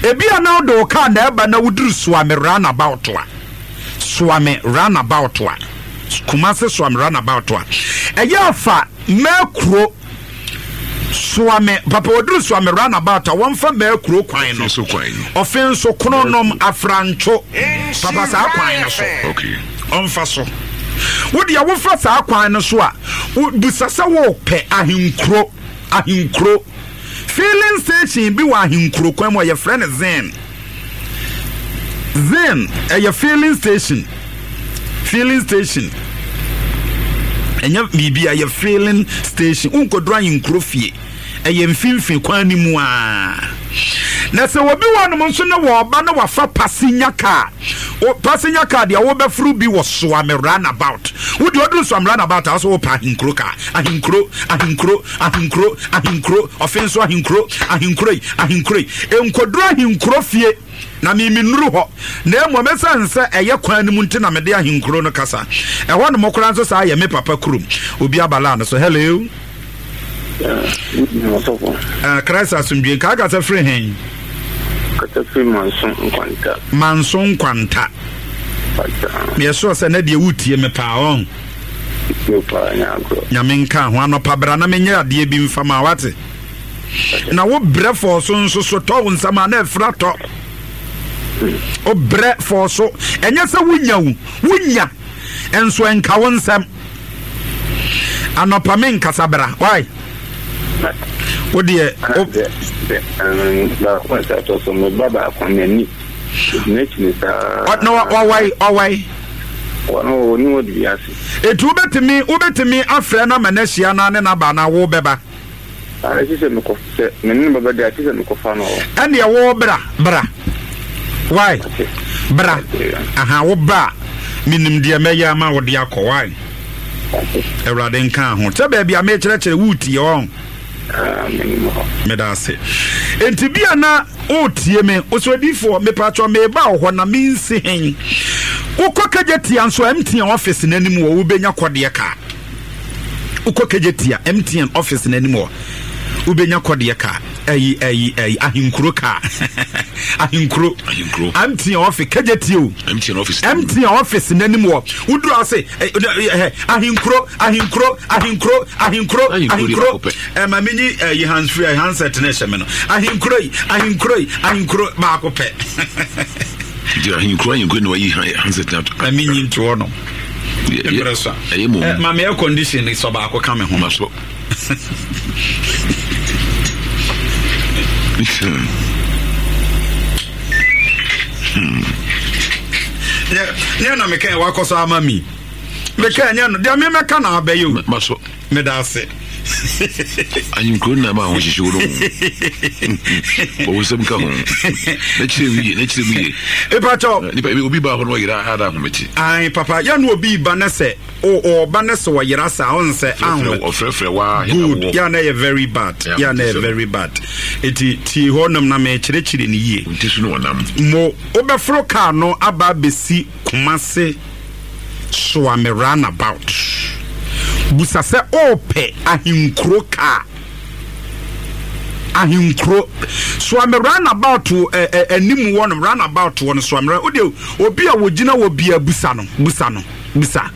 Ebi a na wode wo kaa na ɛba na woduru Suame roundabout a Suame roundabout a Kumase Suame roundabout a ɛyɛ afa Mɛkuro Suame papa wɔduru Suame roundabout a wɔmfa Mɛkuro kwan no ɔfe nso Kronom Afrantwo papa saa kwan no so ɔmfa so wo deɛ wofa saa kwan no so a bisa sɛ wopɛ ahenkuro ahenkuro filling station bi wɔ ahenkuro kwan mu a yɛfrɛ no Zen Zen ɛyɛ filling station filling station ɛnyɛ biribi ɛyɛ filling station wonkɔduru ahenkuro fie ɛyɛ mfimfini kwan no mu a na sɛ obi wɔ nom nso ne wɔɔba na wafa passenger car passenger car deɛ wobɛforo bi wɔ Soame roundabout wo deɛ ɔduru Soame roundabout a wo sɛ wopɛ ahenkuro car ahenkuro ahenkuro ahenkuro ahenkuro ɔfe nso ahenkuro ahenkuro yi ahenkuro yi nkɔduru ahenkuro fie na me mennuru hɔ na mmom ɛsiane sɛ ɛyɛ kwan no mu nti na mede ahenkuro no kasa ɛhɔ nom koraa nso saa yɛ me papa kurom obi abalaa no so hello. Uh, Christ asomdwe nka akasa firi hen? Kasa firi Manso Nkwanta. Manso Nkwanta. Meyɛ sure sɛ na deɛ wotie me paa ɔn. Nyame nka ho anɔpa bra na menyɛ adeɛ bi mfa ma wate. Na wo brɛ fɔɔ so nso so tɔ wo nsɛm a na ɛfira tɔ. Wo brɛ fɔɔ so ɛnyɛ sɛ wonya wo wonya nso ɛnka wo nsɛm. Anɔpa me nkasa bra why? Wo deɛ o. Baako a ɛsɛ atɔ so me ba baako n'ani n'akyiri saa. Na ɔwae ɔwae. Wɔn wɔ ne wɔ di ase. Etu wobɛtumi wobɛtumi afrɛ no ama no ahyia na ne naba na wo bɛba. Ara ɛsɛ sɛ mekɔ sɛ me ne no bɛba deɛ ɛsɛ sɛ mekɔfa no hɔ. Ɛnneɛ wo bra bra why bra aha wo ba a menim deɛ mɛyɛ ama wo de akɔ why Awurade nka ho sɛ baabi a mekyerɛkyerɛ woretie ɔn meda ase nti bi a na woretie me osodifoɔ mepatwɔ meba wo hɔ na mensi hen wokɔ kagya tia nso MTN office n'anim wɔ wobɛnya kɔdeɛ kaa Wokɔ Kejetia MTN office no anim hɔ, wobɛnya kɔdeɛ kaa, ɛyi ɛyi ɛyi ahenkuro kaa, ahenkuro, ahenkuro, MTN office Kejetia o, MTN office, MTN office no anim hɔ, woduru ase ɛ ahenkuro, ahenkuro, ahenkuro, ahenkuro, ahenkuro, ɛ ma menyi ɛyi hands free handset no ɛhyɛ me no, ahenkuro yi, ahenkuro yi, ahenkuro baako pɛ. Nti ahenkuro ahenkuro na wayi handset no ato. Ma menyi ntoɔ no. Mmerɛ so a. Ɛyɛ mmom. Eh, ma me air condition sɔ baako ka me ho. Ma so. Nyɛ na meka wakɔ so ama mi. Meka nyɛ no deɛ memɛka na abɛyɛ o. Ma so. Meda ase. Ahenkuro nna ma ahohyehye wo no ho. Wɔwɔ nsɛm ka ho. Na kyerɛ mu yie, na kyerɛ mu yie. Epakyɛw. Nipa ebi obi ba hɔ no ɔyera ada ahomete. Ayi papa yɛ no obi ba ne sɛ ɔba ne sɛ ɔyera saa ɔn sɛ ahomete. Ɔfrɛfrɛ waa Good yɛ na yɛ very bad yɛ na yɛ very bad. Eti tie hɔ nom na mɛkyerɛkyerɛ ne yie. Nti so no ɔnam. Mo wobɛforo kaa no aba abɛsi Kumase. Soa me run about. Busa sɛ ɔɔpɛ ahenkuro kaa. Ahenkuro. Soa me run about ɛ ɛ anim wɔ no run about wɔ no soa me run. Wode obi a wɔgyina wɔ bia busa no busa no busa.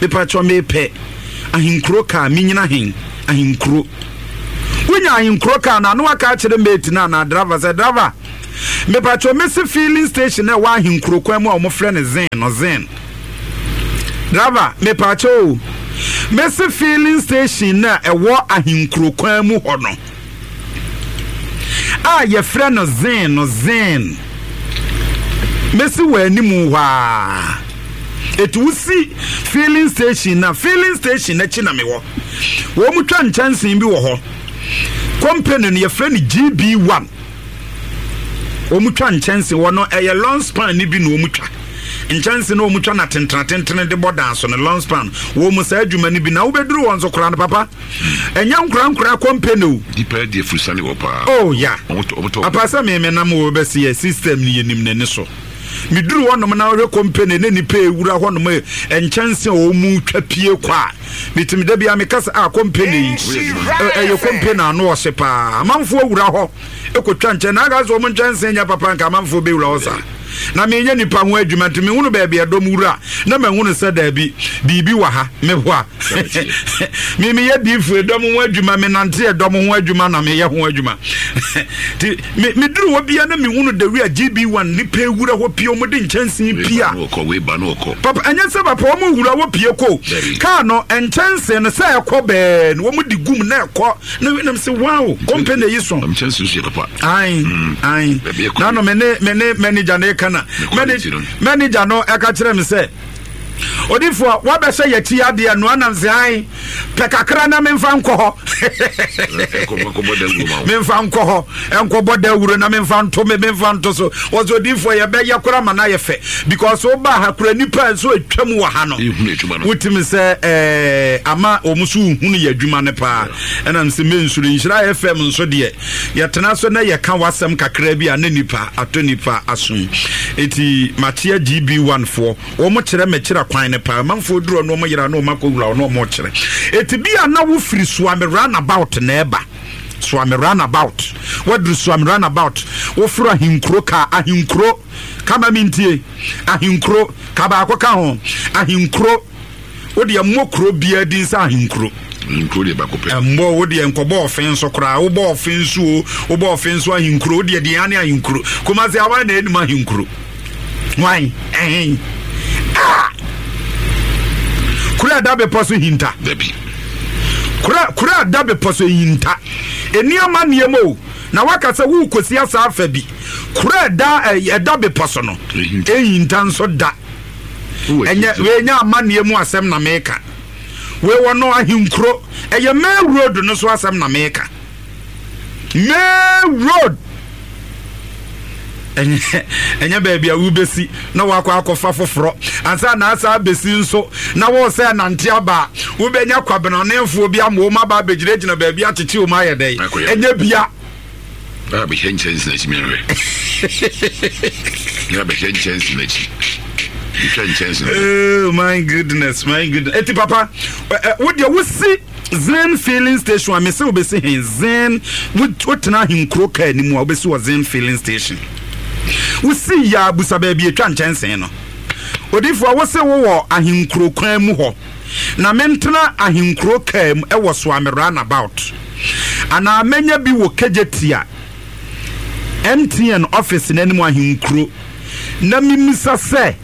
Mepa kyɛw mepɛ ahenkuro kaa menyina hen ahenkuro. Wonya ahenkuro kaa no a, na waka akyerɛ mate no anaa driver sɛ, Driver, mepakyɛw mesi filling station a ɛwɔ ahenkuro kwan mu a wɔfrɛ no Zen no, Zen. Driver, mepakyɛw o, mesi filling station no a ɛwɔ ahenkuro kwan mu hɔ no. a yɛfrɛ no Zin no, Zin. Mesi wɔ anim hɔ a. Eti wosi filling station na filling station n'akyi na mewɔ. Wɔn mu twa nkyɛnsee bi wɔ hɔ. Company no yɛfrɛ no GB1. Wɔn mu twa nkyɛnsee wɔ no ɛyɛ long span ne bi na wɔn twa. Nkyɛnsee no wɔn twa na tentena tentene de bɔ dan so no long span. Wɔn mu saa adwuma no bi na wobɛduru wɔn so koraa no papa. Ɛnyɛ nkorankora kɔmpene o. Nipa adi afurusane wɔ paa. Oh ya. Ɔmo tɔ. Apa sɛ me me nam wɔ bɛsi yɛ system ni yɛ nim n'ani so. Me duru hɔ nom na ɔhwɛ kɔmpene ne nipa ewura hɔ nom nkyɛnse a ɔmo twa pie kɔ a. Me tumi da bia me kasa a kɔmpene yi ɛyɛ kɔmpene ano ɔhye paa. Amanfoɔ wura hɔ ekɔ twa nkyɛn na aka sɛ ɔmo nkyɛnse nyɛ papa nka amanfoɔ bɛ wura hɔ saa. Na menyɛ nipa ho adwuma nti mehunu baabi ɛdɔm wura na mahunu sɛ daabi biribi wɔ ha meboa me meyɛ diifo ɛdɔm ho adwuma menante ɛdɔm ho adwuma na meyɛ ho adwuma nti meduru hɔ bia na mehunu dawi a GB1 nipa ewura hɔ pie wɔn de nkyɛnsee pia papa ɛnyɛ sɛ papa wɔn wura hɔ pie ko kaa no nkyɛnsee no sɛ ɛkɔ bɛɛ no wɔn de gum na ɛkɔ na nam sɛ wow kɔmpɛ na eyi so nkyɛnsee so yɛ papa ayi ayi nanu me ne me ne manager na eka na manager no ɛka kyerɛ me sɛ odifoɔ wabɛhyɛ yɛkyi adeɛ no anam sɛ ae pɛ kakra na memfa nkɔ hɔ memfa nkɔ hɔ nkɔbɔ dawuro na memfa nto me memfa nto so wɔsɛ odifoɔ yɛbɛyɛ kora ma no ayɛ fɛ because woba ha kora nipa nso atwam wɔ ha no wotumi sɛ eh, ama wɔn so wohunu yɛ adwuma no paa ɛnam sɛ mensuro nhyira fm nso deɛ Yɛtena so na yɛka w'asɛm kakra bi a na nipa atɔ nipa asom. Eti makyea GB1 foɔ. Wɔn kyerɛ me kyerɛ kwan no paa. Manfoɔ duru hɔ na wɔn yera na wɔn akɔ wura hɔ na wɔn kyerɛ. Eti bi a na wo firi Suame roundabout na ɛba. Suame roundabout. Waduru Suame roundabout. Woforo Ahenkuro kaa. Ahenkuro. Kama mi ntie. Ahenkuro. Ka baako ka ho. Ahenkuro. Wo deɛ mmɔ kuro biara din sɛ ahenkuro. Ahenkuro deɛ baako pɛ. Mmɔ wo deɛ nkɔbɔ ɔfe nso koraa wobɔ ɔfe nso o wobɔ ɔfe nso ahenkuro wo deɛ deɛ ane ahenkuro Kumasi awan na enim ahenkuro wan ɛhen ah kuro ɛda bepɔ so hinta. Dabi. Kuro kuro ɛda bepɔ so hinta nneɛma nneɛma o na waka sɛ wokɔsi asa afa bi kuro ɛda ɛda bepɔ so no ehinta nso da. Ɛnyɛ wei nyɛ amanneɛ mu asɛm na meka. Wei wɔ no ahenkuro. Ɛyɛ main road no so asɛm na meka. Main road. Ɛnyɛ ɛnyɛ baabi a wobɛsi na wakɔ akɔfa foforɔ ansa na asa abɛsi nso na wɔ sɛ nante aba a wobɛnya kwabenɔnefoɔ bi ama wɔn aba abɛgyinagyina baabi akyekye wɔn ayɛ dɛn ɛnyɛ bia. Na bɛhwɛ nkyɛnse n'akyi mehwɛ. Na bɛhwɛ nkyɛnse n'akyi. Metwa nkyɛnse no. Oh my goodness, my goodness. Eti papa, wo deɛ wosi Zen filling station a mese wobɛsi he Zen wotena ahenkuro kaa anim a wobɛsi wɔ Zen filling station. Wosi yɛ abusa baabi atwa nkyɛnse no. Odifoɔ wo se wowɔ ahenkuro kwan mu hɔ. Na mentena ahenkuro kaa mu ɛwɔ Soame roundabout. Anaa mɛnya bi wɔ Kejetia MTN office no anim ahenkuro na memisa sɛ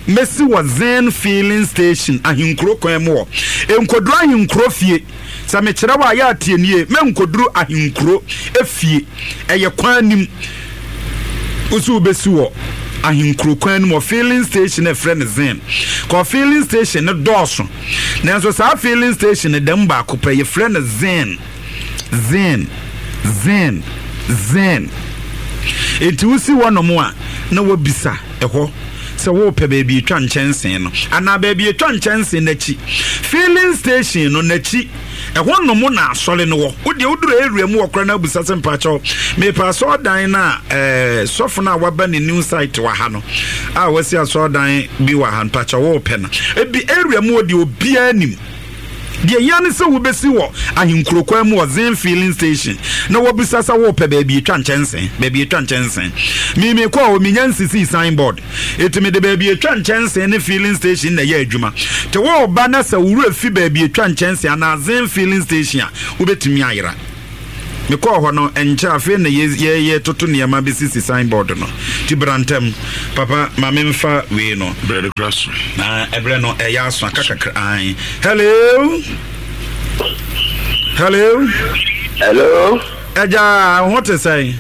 mɛsi wɔ Zen filling station ahenkuro kwan mu hɔ. Nkoduru ahenkuro fie. Sɛ mekyerɛ wo a yɛ a tie nie, mɛnkoduru ahenkuro fie. Ɛyɛ kwan nim. Wo so wobɛsi wɔ ahenkuro kwan no mu wɔ filling station a ɛfrɛ no Zen. Kɔ filling station no dɔɔso. Nanso saa filling station no da mu baako pɛ, yɛfrɛ no Zen, Zen, Zen, Zen. Enti wosi hɔnom a, na woabisa ɛhɔ sɛ worepɛ baabi etwa nkyɛnsee no anaa baabi etwa nkyɛnsee no akyi. Filling station no n'akyi, ɛhɔ nom na asɔre no wɔ. Wo deɛ woduru area mu wɔ koraa na abisa sɛ mpakyɛw mepɛ asɔredan no a ɛɛ sɔfo no a waba ne new site wɔ ha no a wasi asɔredan bi wɔ ha mpakyɛw worepɛ no. Ebi area mu wɔ deɛ obiara nim. Deɛ ehia ne sɛ wobɛsi wɔ ahenkuro kwan mu wɔ Zen filling station na wabisa sɛ worepɛ baabi etwa nkyɛnsee, baabi etwa nkyɛnsee. Me mekɔɔ hɔ menya nsisii sign board. Eti mede baabi etwa nkyɛnsee ne filling station na ɛyɛ adwuma. Te woreba na sɛ wo werɛ fi baabi etwa nkyɛnsee anaa Zen filling station a, wobɛtumi ayera. Mekɔɔ hɔ no, ɛnkyɛ afei na yɛtoto nneɛma bɛsisi signboard no. Nti bra ntɛm. Papa, ma memfa wei no. Berɛ no kora so. Na ɛberɛ no ɛyɛ aso aka kakra. Ae. Hello? Hello? Hello? Agya, wo ho te sɛn?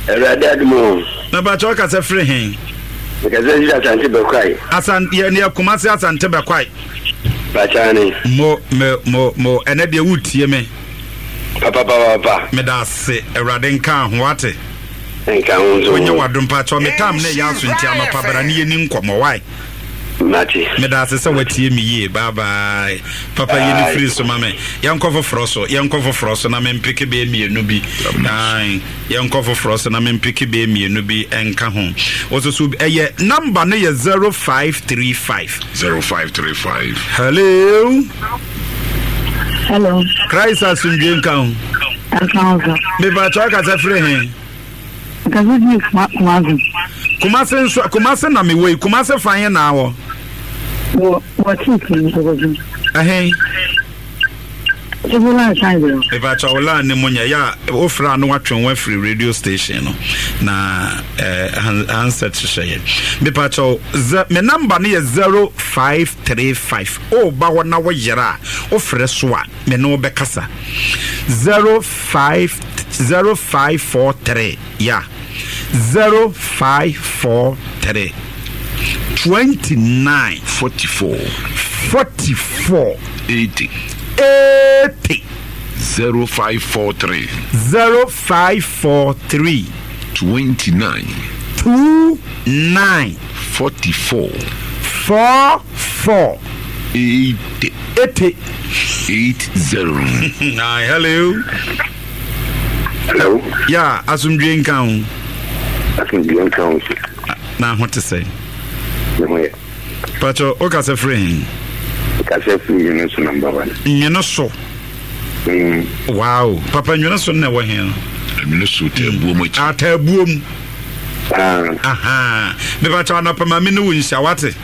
Awurade adom o. Na bakyɛ ɔkasa firi he? Mekasa firi Asante Bɛkwae. Asan yɛ ne Kumasi Asante Bɛkwae. Bakyane. Mo mo mo mo ɛnɛ deɛ wotie me. Papapapapa. Meda ase Awurade nka ho wate. Nka ho nso. Onyɛ wadom pakyɛ me tam ne yɛ aso nti anɔpa bra ne yɛni nkɔmmɔ why. Mate. Meda ase sɛ watie me yie. Bye bye. Papa yi ne firi so ma me. Yɛnkɔ foforɔ so. Yɛnkɔ foforɔ so na mempeke bɛyɛ mmienu bi. Ae. Yɛnkɔ foforɔ so na mempeke bɛyɛ mmienu bi nka ho. Wososo ɛyɛ number no yɛ 0535. 0535. Hello. Hello. Christ asomdwe nka ho. Nka ho so. Mepa kyɛw kasa firi he? Nkasa fi Kumasi. Kumasi nso Kumasi na mewɔ yi Kumasi fan yɛ na awɔ. Wɔ wɔ tiiti mu kɔkɔsi. Ɛhɛn. Ebi line san bi. Ìbàkyɛ wo line ne mu nyɛ yɛ a wofrɛ a na watwe ho afiri radio station no na eh, handset hyehyɛ yɛ. Mepakyɛ wo me number no yɛ 0535 woba hɔ na woyera a wofrɛ so a me ne wo bɛkasa 05 0543 ya 0543 29 44 44 80 80 0543 0543 29 29 44 44 80 80 80. Hi, hello. Hello. Yeah, asomdwe nka ho. Asomdwe nka ho. Na ho te sɛ. Ne ho yɛ. Pacho, o kasa firi he? Kasa firi nwene so number one. Nwene so. Mm. Wow. Papa nwene so na ɛwɔ he no? Nwene so taabuo mu akyi. Ah, taabuo mu. Ah. Aha. Mepacho anɔpa ma me ne wo nhyia wate.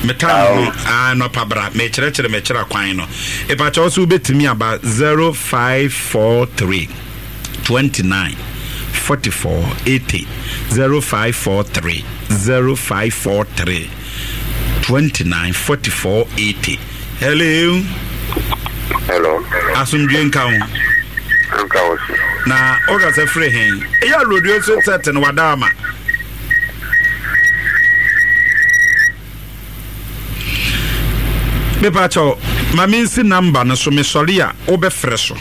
Metaa no ah nɔpa bra mekyerɛkyerɛ mekyerɛ kwan no epakyɛ wo so wobɛtumi aba 0543 29 44 80 0543 0543 29 44 80 Hello. Hello. Asomdwe nka ho. Nka wo so. Na wokasa firi he? Ɛyɛ rodio so sɛte no wada ama. Mepa kyɛw, ma mensi namba no so mesɔre a wobɛfrɛ so.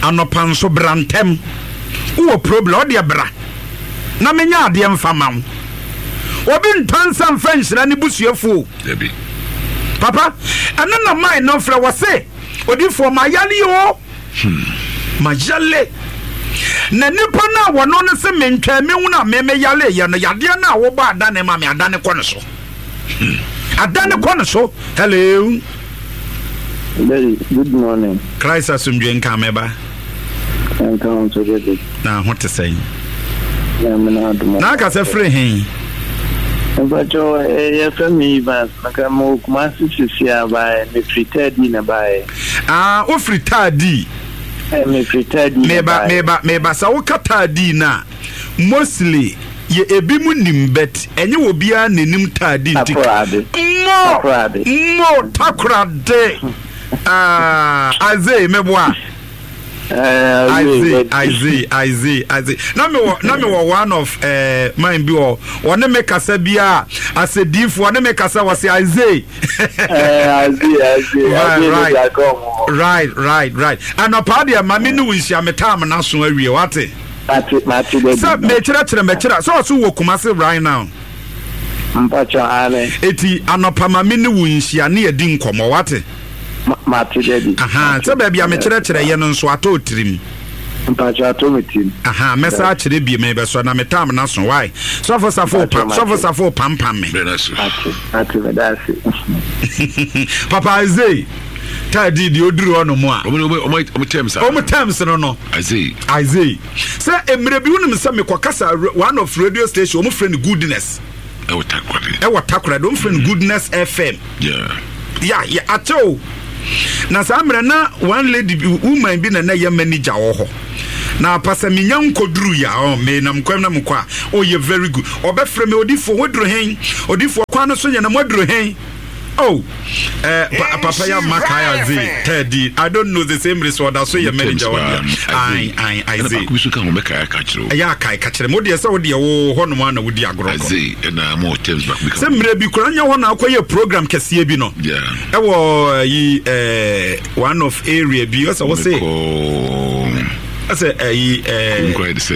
Anɔpa nso bra ntɛm. Wowɔ problem ɔdeɛ bra na menyɛ adeɛ mfa ma wo. Obi ntɔ nsa mfa nhyira ne busuafoɔ. Papa, ɛno na mae no frɛ wɔ se odifoɔ mayale o. Hmm, mayale. Na nipa no a wɔno no se mentwɛn me hunu a me meyale yɛ no, yadeɛ no a wobɔ adane ma me adane kɔ no so. Hmm, adane kɔ no so. Hello. Daddy, good morning. Christ asomdwe nka me ba. Nka ho nso daddy. Na ho te sɛn? Nyame na adom. Na aka sɛ firi he? Mpakyɛw, eh, yɛfrɛ me Evans. Maka mewɔ Kumasi sisi a baeɛ, mefiri Taadi na baeɛ. Ah, wofiri Taadi? Eh, mefiri Taadi na baeɛ. Meba, meba, meba. Sɛ woka Taadi no a, mostly yɛ ebi mu nim but ɛnyɛ obiara na enim Taadi nti. Takoradi. Mo, Takoradi. mo, Takoradi. Ah, Isaiah, meboa. Isaiah, Isaiah, Isaiah, Isaiah. Na me wɔ na me wɔ one of eh, mine bi wɔ wɔne me kasa bi a asɛdiifo wɔne me kasa wɔ se Isaiah. Isaiah, Isaiah, right, right, right, right. Anɔpa deɛ ma me ne wo nhyia me taam n'aso awie wate. Mate, mate Sɛ mekyerɛkyerɛ mɛkyerɛ sɛ ɔso wɔ Kumasi right now. Mpakyɛ ane. Eti anɔpa ma me ne wo nhyia ne yɛdi nkɔmmɔ wate. Mate daddy. Ahaa sɛ baabi a mekyerɛkyerɛ yɛ no nso atɔ tirim. Mpakyɛ atɔ me tirim. Ahaa mɛsa akyerɛ bio mebɛsɔ na me tam no aso why sɔfo safo pam sɔfo safo pampam me. Mate mate meda ase. Papa Isaiah taa di deɛ oduru hɔ nom a. Ɔmo terms a. Ɔmo terms no no. Isaiah. Isaiah sɛ mmerɛ bi wonim sɛ mekɔ kasa one of radio station ɔmo frɛ no goodness. Ɛwɔ Takoradi. Ɛwɔ Takoradi ɔmo frɛ no goodness FM. Yeah. Ya ya akyɛ o. Na saa mmerɛ na one lady bi, woman bi na na ɛyɛ manager wɔ hɔ. Na apa sɛ menya nkɔduru yɛ a, menam kwan na mekɔ a, ɔyɛ very good. Ɔbɛfrɛ me, odifoɔ, woaduru hen? Odifoɔ, kwan no so nyɛ na moaduru hen? Oh, eh, pa, papa ya ma kai aze tɛdi. I don't know the same reason ɔda so yɛ manager wɔ deɛ. Ayi, ayi, aze. Ɛna baako bi so ka ho bɛka aka kyerɛ o. Ɛyɛ akae ka kyerɛ mo deɛ sɛ wo deɛ wo hɔ nom ana wodi agorɔ kɔ. Aze ɛna mo terms baako bi ka. Sɛ mmerɛ bi kura nyɛ hɔ na akɔyɛ program kɛseɛ bi no. Yeah. Ɛwɔ yi eh, one of area bi ɔsɛ wo se. Ɔsɛ ɛyi ɛɛ. Nkura yɛ de sɛ.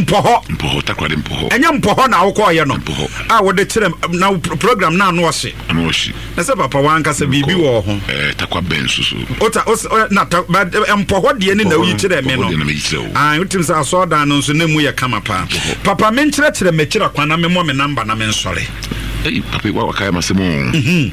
Mpɔhɔ. Mpɔhɔ takoradi mpɔhɔ. Ɛnyɛ mpɔhɔ na awokɔɔyɛ no. Mpɔhɔ. A wɔde kyerɛ na program na ano ɔhye. Ano ɔhye. Na sɛ papa wankasa biribi wɔ ho. Ɛɛ takwa bɛn soso. Ota os na ta ba mpɔhɔ deɛ ne na oyi kyerɛ me no. Mpɔhɔ deɛ na meyi kyerɛ wo. Ah wotim sɛ asɔɔdan no nso na emu yɛ kama paa. Papa menkyerɛkyerɛ m'akyira kwan na memmɔ me namba na mensɔre. Ei papa wa wakae m'asɛm o. Mhm.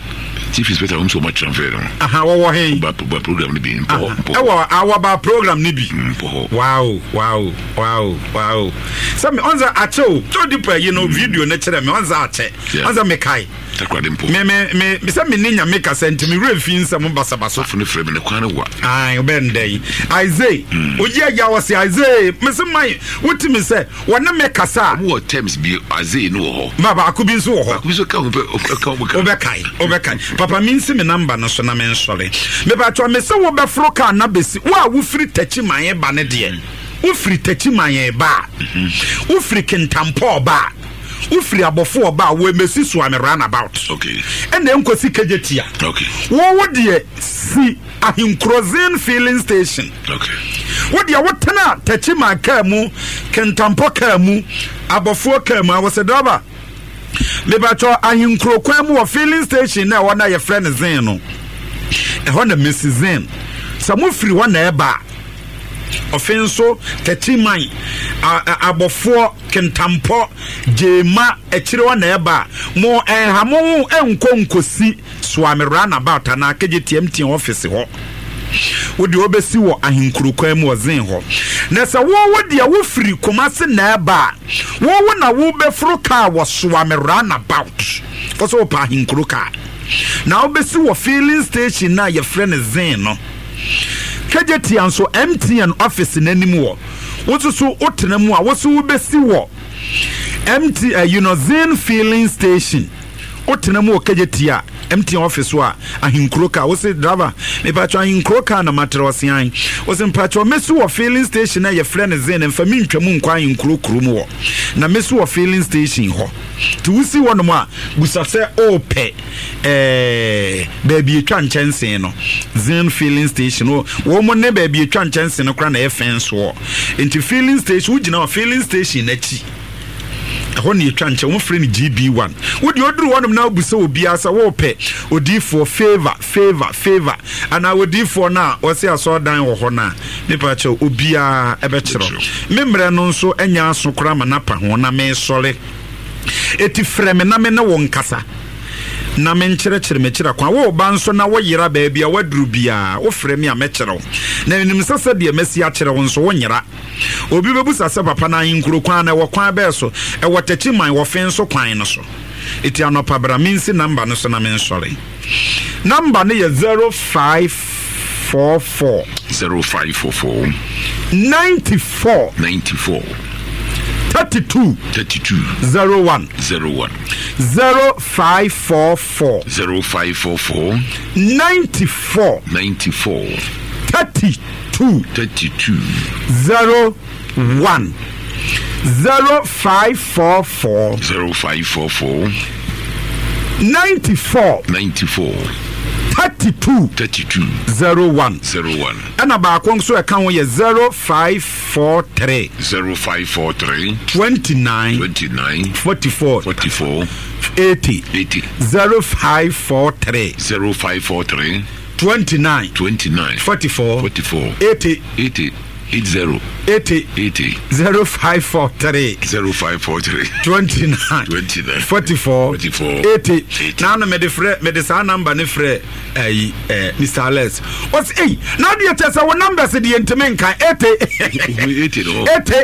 Chief inspector wɔn sɛ wɔn transfer no. Aha wɔwɔ he. Ba ba program no bi mpɔhɔ mpɔhɔ. Ɛwɔ awɔ program no bi. Mpɔhɔ. Wow wow wow wow. Sɛ me ɔnza akyɛ o. Tó di pa yi no video no kyerɛ me ɔnza akyɛ. Ɔnza mekae. Takoradi mpo. Me me me sɛ me ne nyame kasa nti me werɛ fi nsɛm basabasa. Sɔfo no frɛ me ne kwan no wa. Ayi ɔbɛn dɛ yi. Isaiah. Oyi ayɛ ɔsi Isaiah. Mesi man wotumi sɛ wɔne me kasa a. Wɔn wɔ terms bi Isaiah no wɔ hɔ. Ma baako bi nso wɔ hɔ. Baako bi nso ka ho pɛ ɔka ho ka. Wobɛkae wobɛkae papa mi nsi me namba no so na me nsɔre. Mepatwa me sɛ wobɛforo kaa na besi wo a wofiri takyi man ba ne deɛ. Wofiri takyi man ba a. Wofiri kintampɔɔ ba a. Wofiri abɔfo ɔba a wɔmɛsi Suame roundabout. Okay. Ɛna nkosi Kejetia. Okay. Wo wo deɛ si Ahenkurozin filling station. Okay. Wo deɛ wotena Techiman kaa mu, Kintampo kaa mu, abɔfoɔ kaa mu a wɔsɛ driver. Mebatwɔ Ahenkuro kwan mu wɔ filling station na ɛhɔ na yɛfrɛ no Zen no. Ɛhɔ na Mesi Zen. Sɛ mofiri hɔ na ɛba a, ɔfe nso Techiman, abɔfoɔ Kintampɔ, Gyema, akyire hɔ na ɛba a, mo ɛnha mo ho nkɔ nkosi Suame Runabout anaa Kejetia MTN office hɔ. Wo deɛ wobɛsi wɔ Ahenkuro kwan mu wɔ Zen hɔ. Na sɛ wo wo deɛ wofiri Kumasi na ɛba a, wo wo na wobɛforo kaa wɔ Suame Runabout. Wɔ sɛ wopɛ Ahenkuro kaa. Na wobɛsi wɔ filling station no a yɛfrɛ no Zen no. Kejetia nso MTN office no anim wɔ. Wo nso so wotena mu a, wo so wobɛsi wɔ MT, uh, you know, Zen filling station. Wotena mu wɔ Kejetia MTN office so a, Ahenkuro car. Wose driver, mepatwɔ Ahenkuro car na matrɛ ɔse an. Wose mpatwɔ mɛsi wɔ filling station a yɛfrɛ no Zen, mfa me ntwa mu nkɔ Ahenkuro kuro mu hɔ. Na mɛsi wɔ filling station hɔ. Nti wosi hɔ nom a, busa sɛ ɔɔpɛ ɛɛ baabi etwa nkyɛnsee no, Zen filling station. Wɔn ne baabi etwa nkyɛnsee no koraa na ɛyɛ fɛn soɔ. Nti filling station, wogyina hɔ filling station n'akyi. Ɛhɔ na yɛtwa nkyɛn, wɔfrɛ no GB1. Wo deɛ oduru hɔnom na wobisa obiara sɛ wɔrepɛ odiifoɔ Favour, Favour, Favour anaa odiifoɔ no a ɔse asɔredan wɔ hɔ no a, mepa kyɛw, obiara ɛbɛkyerɛ wo. Me mmerɛ no nso nyɛ aso koraa ma no apa ho na mesɔre. Eti frɛ me na me ne wo nkasa na menkyerɛkyerɛ m'akyira kwan. Wo ba nso na woyera baabi a woaduru biara, wofrɛ me a mɛkyerɛ wo. Na menim sɛ sɛdeɛ masi akyerɛ wo nso wonyera. Obi bɛbusa sɛ, Papa, na ahenkuro kwan no, ɛwɔ kwan bɛɛ so? Ɛwɔ Techiman, wɔ Fenso kwan no so. Eti anɔpa bra mensi namba no so na mensɔre. Namba no yɛ 0544. 0544. 94. 94. 32. 32. 01. 01. 0544. 0544. 94. 94. 32. 2. 32. 0 1. 0544. 0544. 94. 94. 32. 32. 01. 01. Ɛna baako nso ɛka ho yɛ 0543. 0543. 29. 29. 44. 44. 80. 80. 0543. 0543. 29. 29. 44. 44. 80. 80. 80. 80. 80. 0543. 0543. 29. 29. 44. 44. 80. 80. Na ano mede frɛ mede saa namba ne frɛ ɛyi ɛɛ Mr Alex. Ɔsi eyi na adeɛ kyɛ sɛ wo numbers deɛ ntumi nkan 80. 80 no. 80.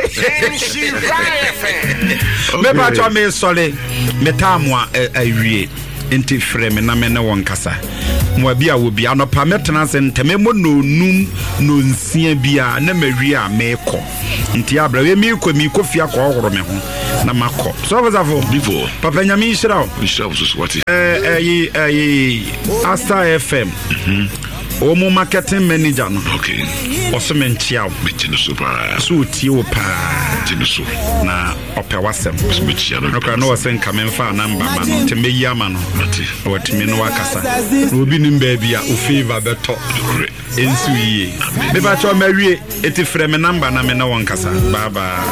Mepatwa me sɔre me taamu a awie. Nti frɛ me na me ne wo nkasa. Mmoa bi a wɔ bi anɔpa mɛtena ase ntɛm ɛmmɔ nnɔnnum nnɔnsia biara na mawie a meekɔ. Nti abrɛ wei meekɔ meekɔ fie akɔhohoro me ho na makɔ. Sɔfo Safo. Bifo. Papa Nyame nhyira wo. Nhyira wo soso wate. Ɛyi ɛyi Asta FM. Mhm. Wɔn mu marketing manager no. Okay. Ɔso me nkyia wo. Megye no so paa. So otie wo paa. Gye no so. Na ɔpɛ w'asɛm. Mekyia no. Nokora na ɔsɛ nka memfa namba ma no nti mɛyi ama no. Mate. Na watumi no wakasa. Na obi nim baabi a o favor bɛtɔ. Nokorɛ. Ɛnsi wo yie. Mepakyɛw mawie. Eti frɛ me namba na me ne wo nkasa. Bye bye.